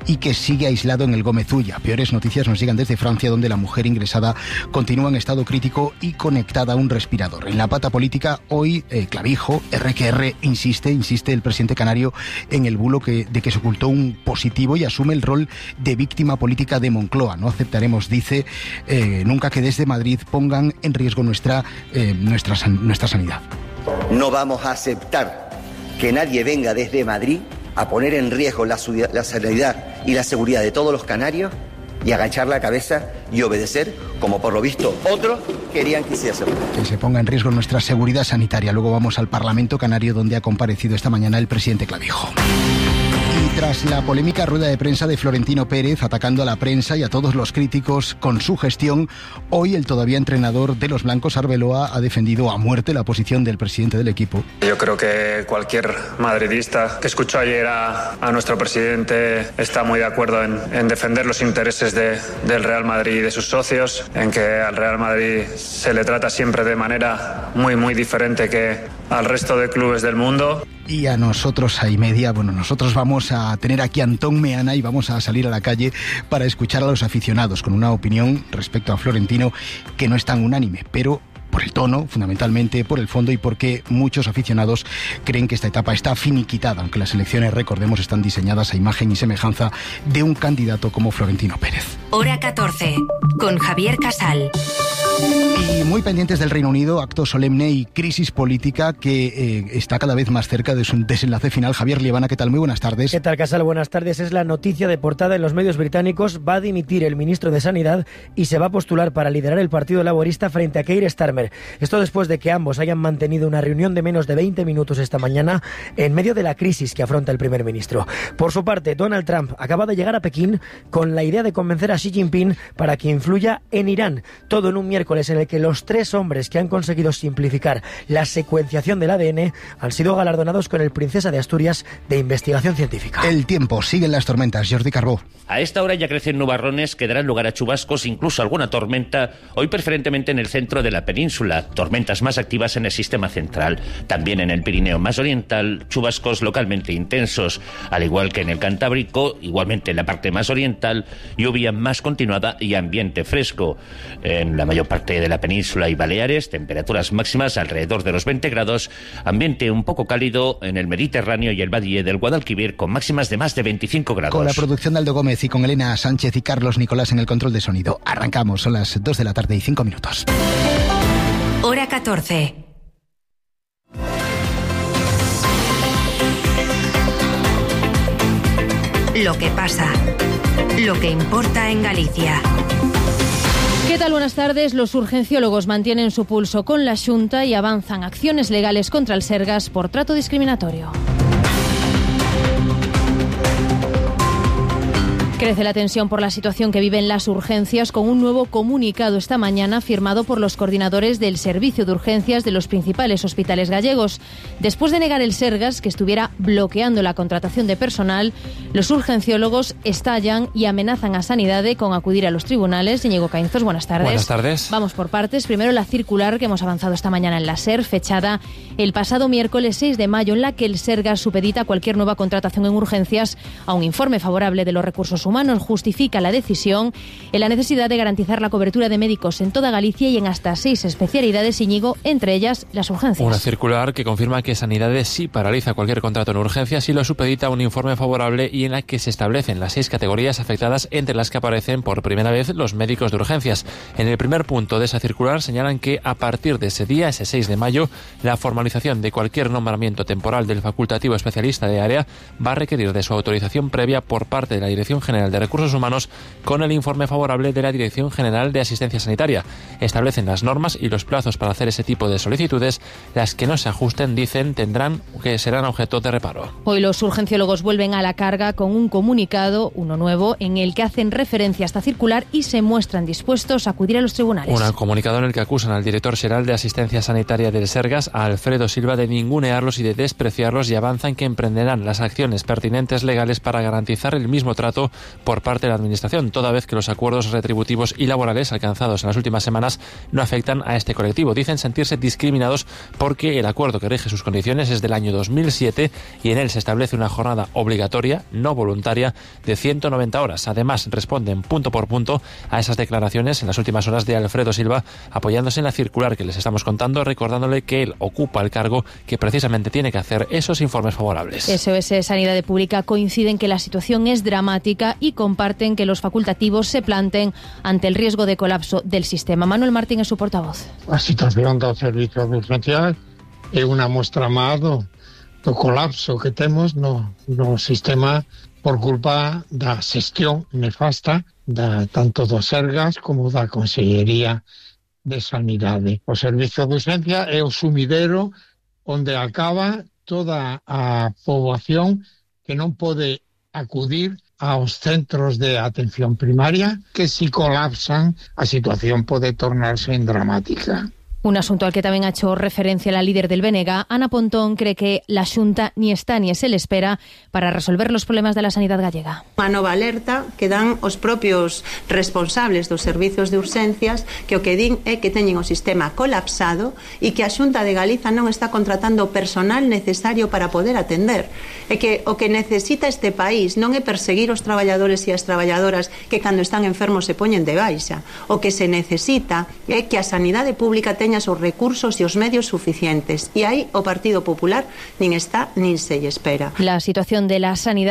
y que sigue aislado en el Gómez Ulla. Peores noticias nos llegan desde Francia, donde la mujer ingresada continúa en estado crítico y conectada a un respirador. En la pata política, hoy, eh, Clavijo, erre que erre, insiste, insiste el presidente canario en el bulo que, de que se ocultó un positivo y asume el rol de víctima política de Moncloa. No aceptaremos, dice, eh, nunca que desde Madrid pongan en riesgo nuestra, eh, nuestra, nuestra sanidad. No vamos a aceptar que nadie venga desde Madrid a poner en riesgo la, la sanidad y la seguridad de todos los canarios y agachar la cabeza y obedecer, como por lo visto otros querían que hiciese. Que se ponga en riesgo nuestra seguridad sanitaria. Luego vamos al Parlamento Canario, donde ha comparecido esta mañana el presidente Clavijo. Y tras la polémica rueda de prensa de Florentino Pérez atacando a la prensa y a todos los críticos con su gestión, hoy el todavía entrenador de los blancos, Arbeloa, ha defendido a muerte la posición del presidente del equipo. Yo creo que cualquier madridista que escuchó ayer a, a nuestro presidente está muy de acuerdo en, en defender los intereses de, del Real Madrid y de sus socios, en que al Real Madrid se le trata siempre de manera muy, muy diferente que al resto de clubes del mundo. Y a nosotros, a y media, bueno, nosotros vamos a tener aquí a Antón Meana y vamos a salir a la calle para escuchar a los aficionados con una opinión respecto a Florentino que no es tan unánime, pero por el tono, fundamentalmente, por el fondo y porque muchos aficionados creen que esta etapa está finiquitada, aunque las elecciones, recordemos, están diseñadas a imagen y semejanza de un candidato como Florentino Pérez. Hora catorce, con Javier Casal. Y muy pendientes del Reino Unido, acto solemne y crisis política que eh, está cada vez más cerca de su desenlace final. Javier Liebana, ¿qué tal? Muy buenas tardes. ¿Qué tal, Casal? Buenas tardes. Es la noticia de portada en los medios británicos. Va a dimitir el ministro de Sanidad y se va a postular para liderar el Partido Laborista frente a Keir Starmer. Esto después de que ambos hayan mantenido una reunión de menos de veinte minutos esta mañana en medio de la crisis que afronta el primer ministro. Por su parte, Donald Trump acaba de llegar a Pekín con la idea de convencer a Xi Jinping para que influya en Irán. Todo en un miércoles en el que los tres hombres que han conseguido simplificar la secuenciación del A D N han sido galardonados con el Princesa de Asturias de Investigación Científica. El tiempo, siguen las tormentas. Jordi Carbó. A esta hora ya crecen nubarrones que darán lugar a chubascos, incluso alguna tormenta, hoy preferentemente en el centro de la península, tormentas más activas en el sistema central. También en el Pirineo más oriental, chubascos localmente intensos, al igual que en el Cantábrico, igualmente en la parte más oriental, lluvia más continuada y ambiente fresco. En la mayor parte de la península y Baleares, temperaturas máximas alrededor de los veinte grados, ambiente un poco cálido en el Mediterráneo y el Valle del Guadalquivir con máximas de más de veinticinco grados. Con la producción de Aldo Gómez y con Elena Sánchez y Carlos Nicolás en el control de sonido. Arrancamos, son las dos de la tarde y cinco minutos. Hora catorce. Lo que pasa, lo que importa en Galicia. ¿Qué tal? Buenas tardes. Los urgenciólogos mantienen su pulso con la Xunta y avanzan acciones legales contra el Sergas por trato discriminatorio. Crece la tensión por la situación que viven las urgencias, con un nuevo comunicado esta mañana firmado por los coordinadores del servicio de urgencias de los principales hospitales gallegos. Después de negar el Sergas que estuviera bloqueando la contratación de personal, los urgenciólogos estallan y amenazan a Sanidade con acudir a los tribunales. Íñigo Caínzos, buenas tardes. Buenas tardes. Vamos por partes. Primero la circular que hemos avanzado esta mañana en la SER, fechada el pasado miércoles seis de mayo, en la que el Sergas supedita cualquier nueva contratación en urgencias a un informe favorable de los recursos humanos. Humanos justifica la decisión en la necesidad de garantizar la cobertura de médicos en toda Galicia y en hasta seis especialidades, Íñigo, entre ellas las urgencias. Una circular que confirma que Sanidade sí paraliza cualquier contrato en urgencias y lo supedita a un informe favorable y en la que se establecen las seis categorías afectadas, entre las que aparecen por primera vez los médicos de urgencias. En el primer punto de esa circular señalan que a partir de ese día, ese seis de mayo, la formalización de cualquier nombramiento temporal del facultativo especialista de área va a requerir de su autorización previa por parte de la Dirección General de Recursos Humanos con el informe favorable de la Dirección General de Asistencia Sanitaria. Establecen las normas y los plazos para hacer ese tipo de solicitudes. Las que no se ajusten, dicen, tendrán que serán objeto de reparo. Hoy los urgenciólogos vuelven a la carga con un comunicado, uno nuevo, en el que hacen referencia a esta circular y se muestran dispuestos a acudir a los tribunales. Un comunicado en el que acusan al director general de Asistencia Sanitaria del Sergas, a Alfredo Silva, de ningunearlos y de despreciarlos, y avanzan que emprenderán las acciones pertinentes legales para garantizar el mismo trato por parte de la Administración, toda vez que los acuerdos retributivos y laborales alcanzados en las últimas semanas no afectan a este colectivo. Dicen sentirse discriminados porque el acuerdo que rige sus condiciones es del año dos mil siete y en él se establece una jornada obligatoria, no voluntaria, de ciento noventa horas. Además, responden punto por punto a esas declaraciones en las últimas horas de Alfredo Silva, apoyándose en la circular que les estamos contando, recordándole que él ocupa el cargo que precisamente tiene que hacer esos informes favorables. S O S Sanidad Pública coinciden que la situación es dramática y comparten que los facultativos se planten ante el riesgo de colapso del sistema. Manuel Martín es su portavoz. A situación do servicio de urgencia é unha mostra máis do, do colapso que temos no, no sistema por culpa da xestión nefasta da, tanto do Sergas como da Consellería de Sanidade. O servicio de urgencia é o sumidero onde acaba toda a poboación que non pode acudir aos centros de atención primaria, que si colapsan a situación pode tornarse en dramática. Un asunto al que tamén ha hecho referencia la líder del B N G, Ana Pontón, cree que la Xunta ni está ni se le espera para resolver los problemas de la sanidad gallega. Unha nova alerta que dan os propios responsables dos servizos de urxencias, que o que din é que teñen o sistema colapsado e que a Xunta de Galiza non está contratando o personal necesario para poder atender. E que o que necesita este país non é perseguir os traballadores e as traballadoras que cando están enfermos se poñen de baixa. O que se necesita é que a sanidade pública teña os recursos e os medios suficientes. E aí o Partido Popular nin está nin se lle espera. La situación de la sanidad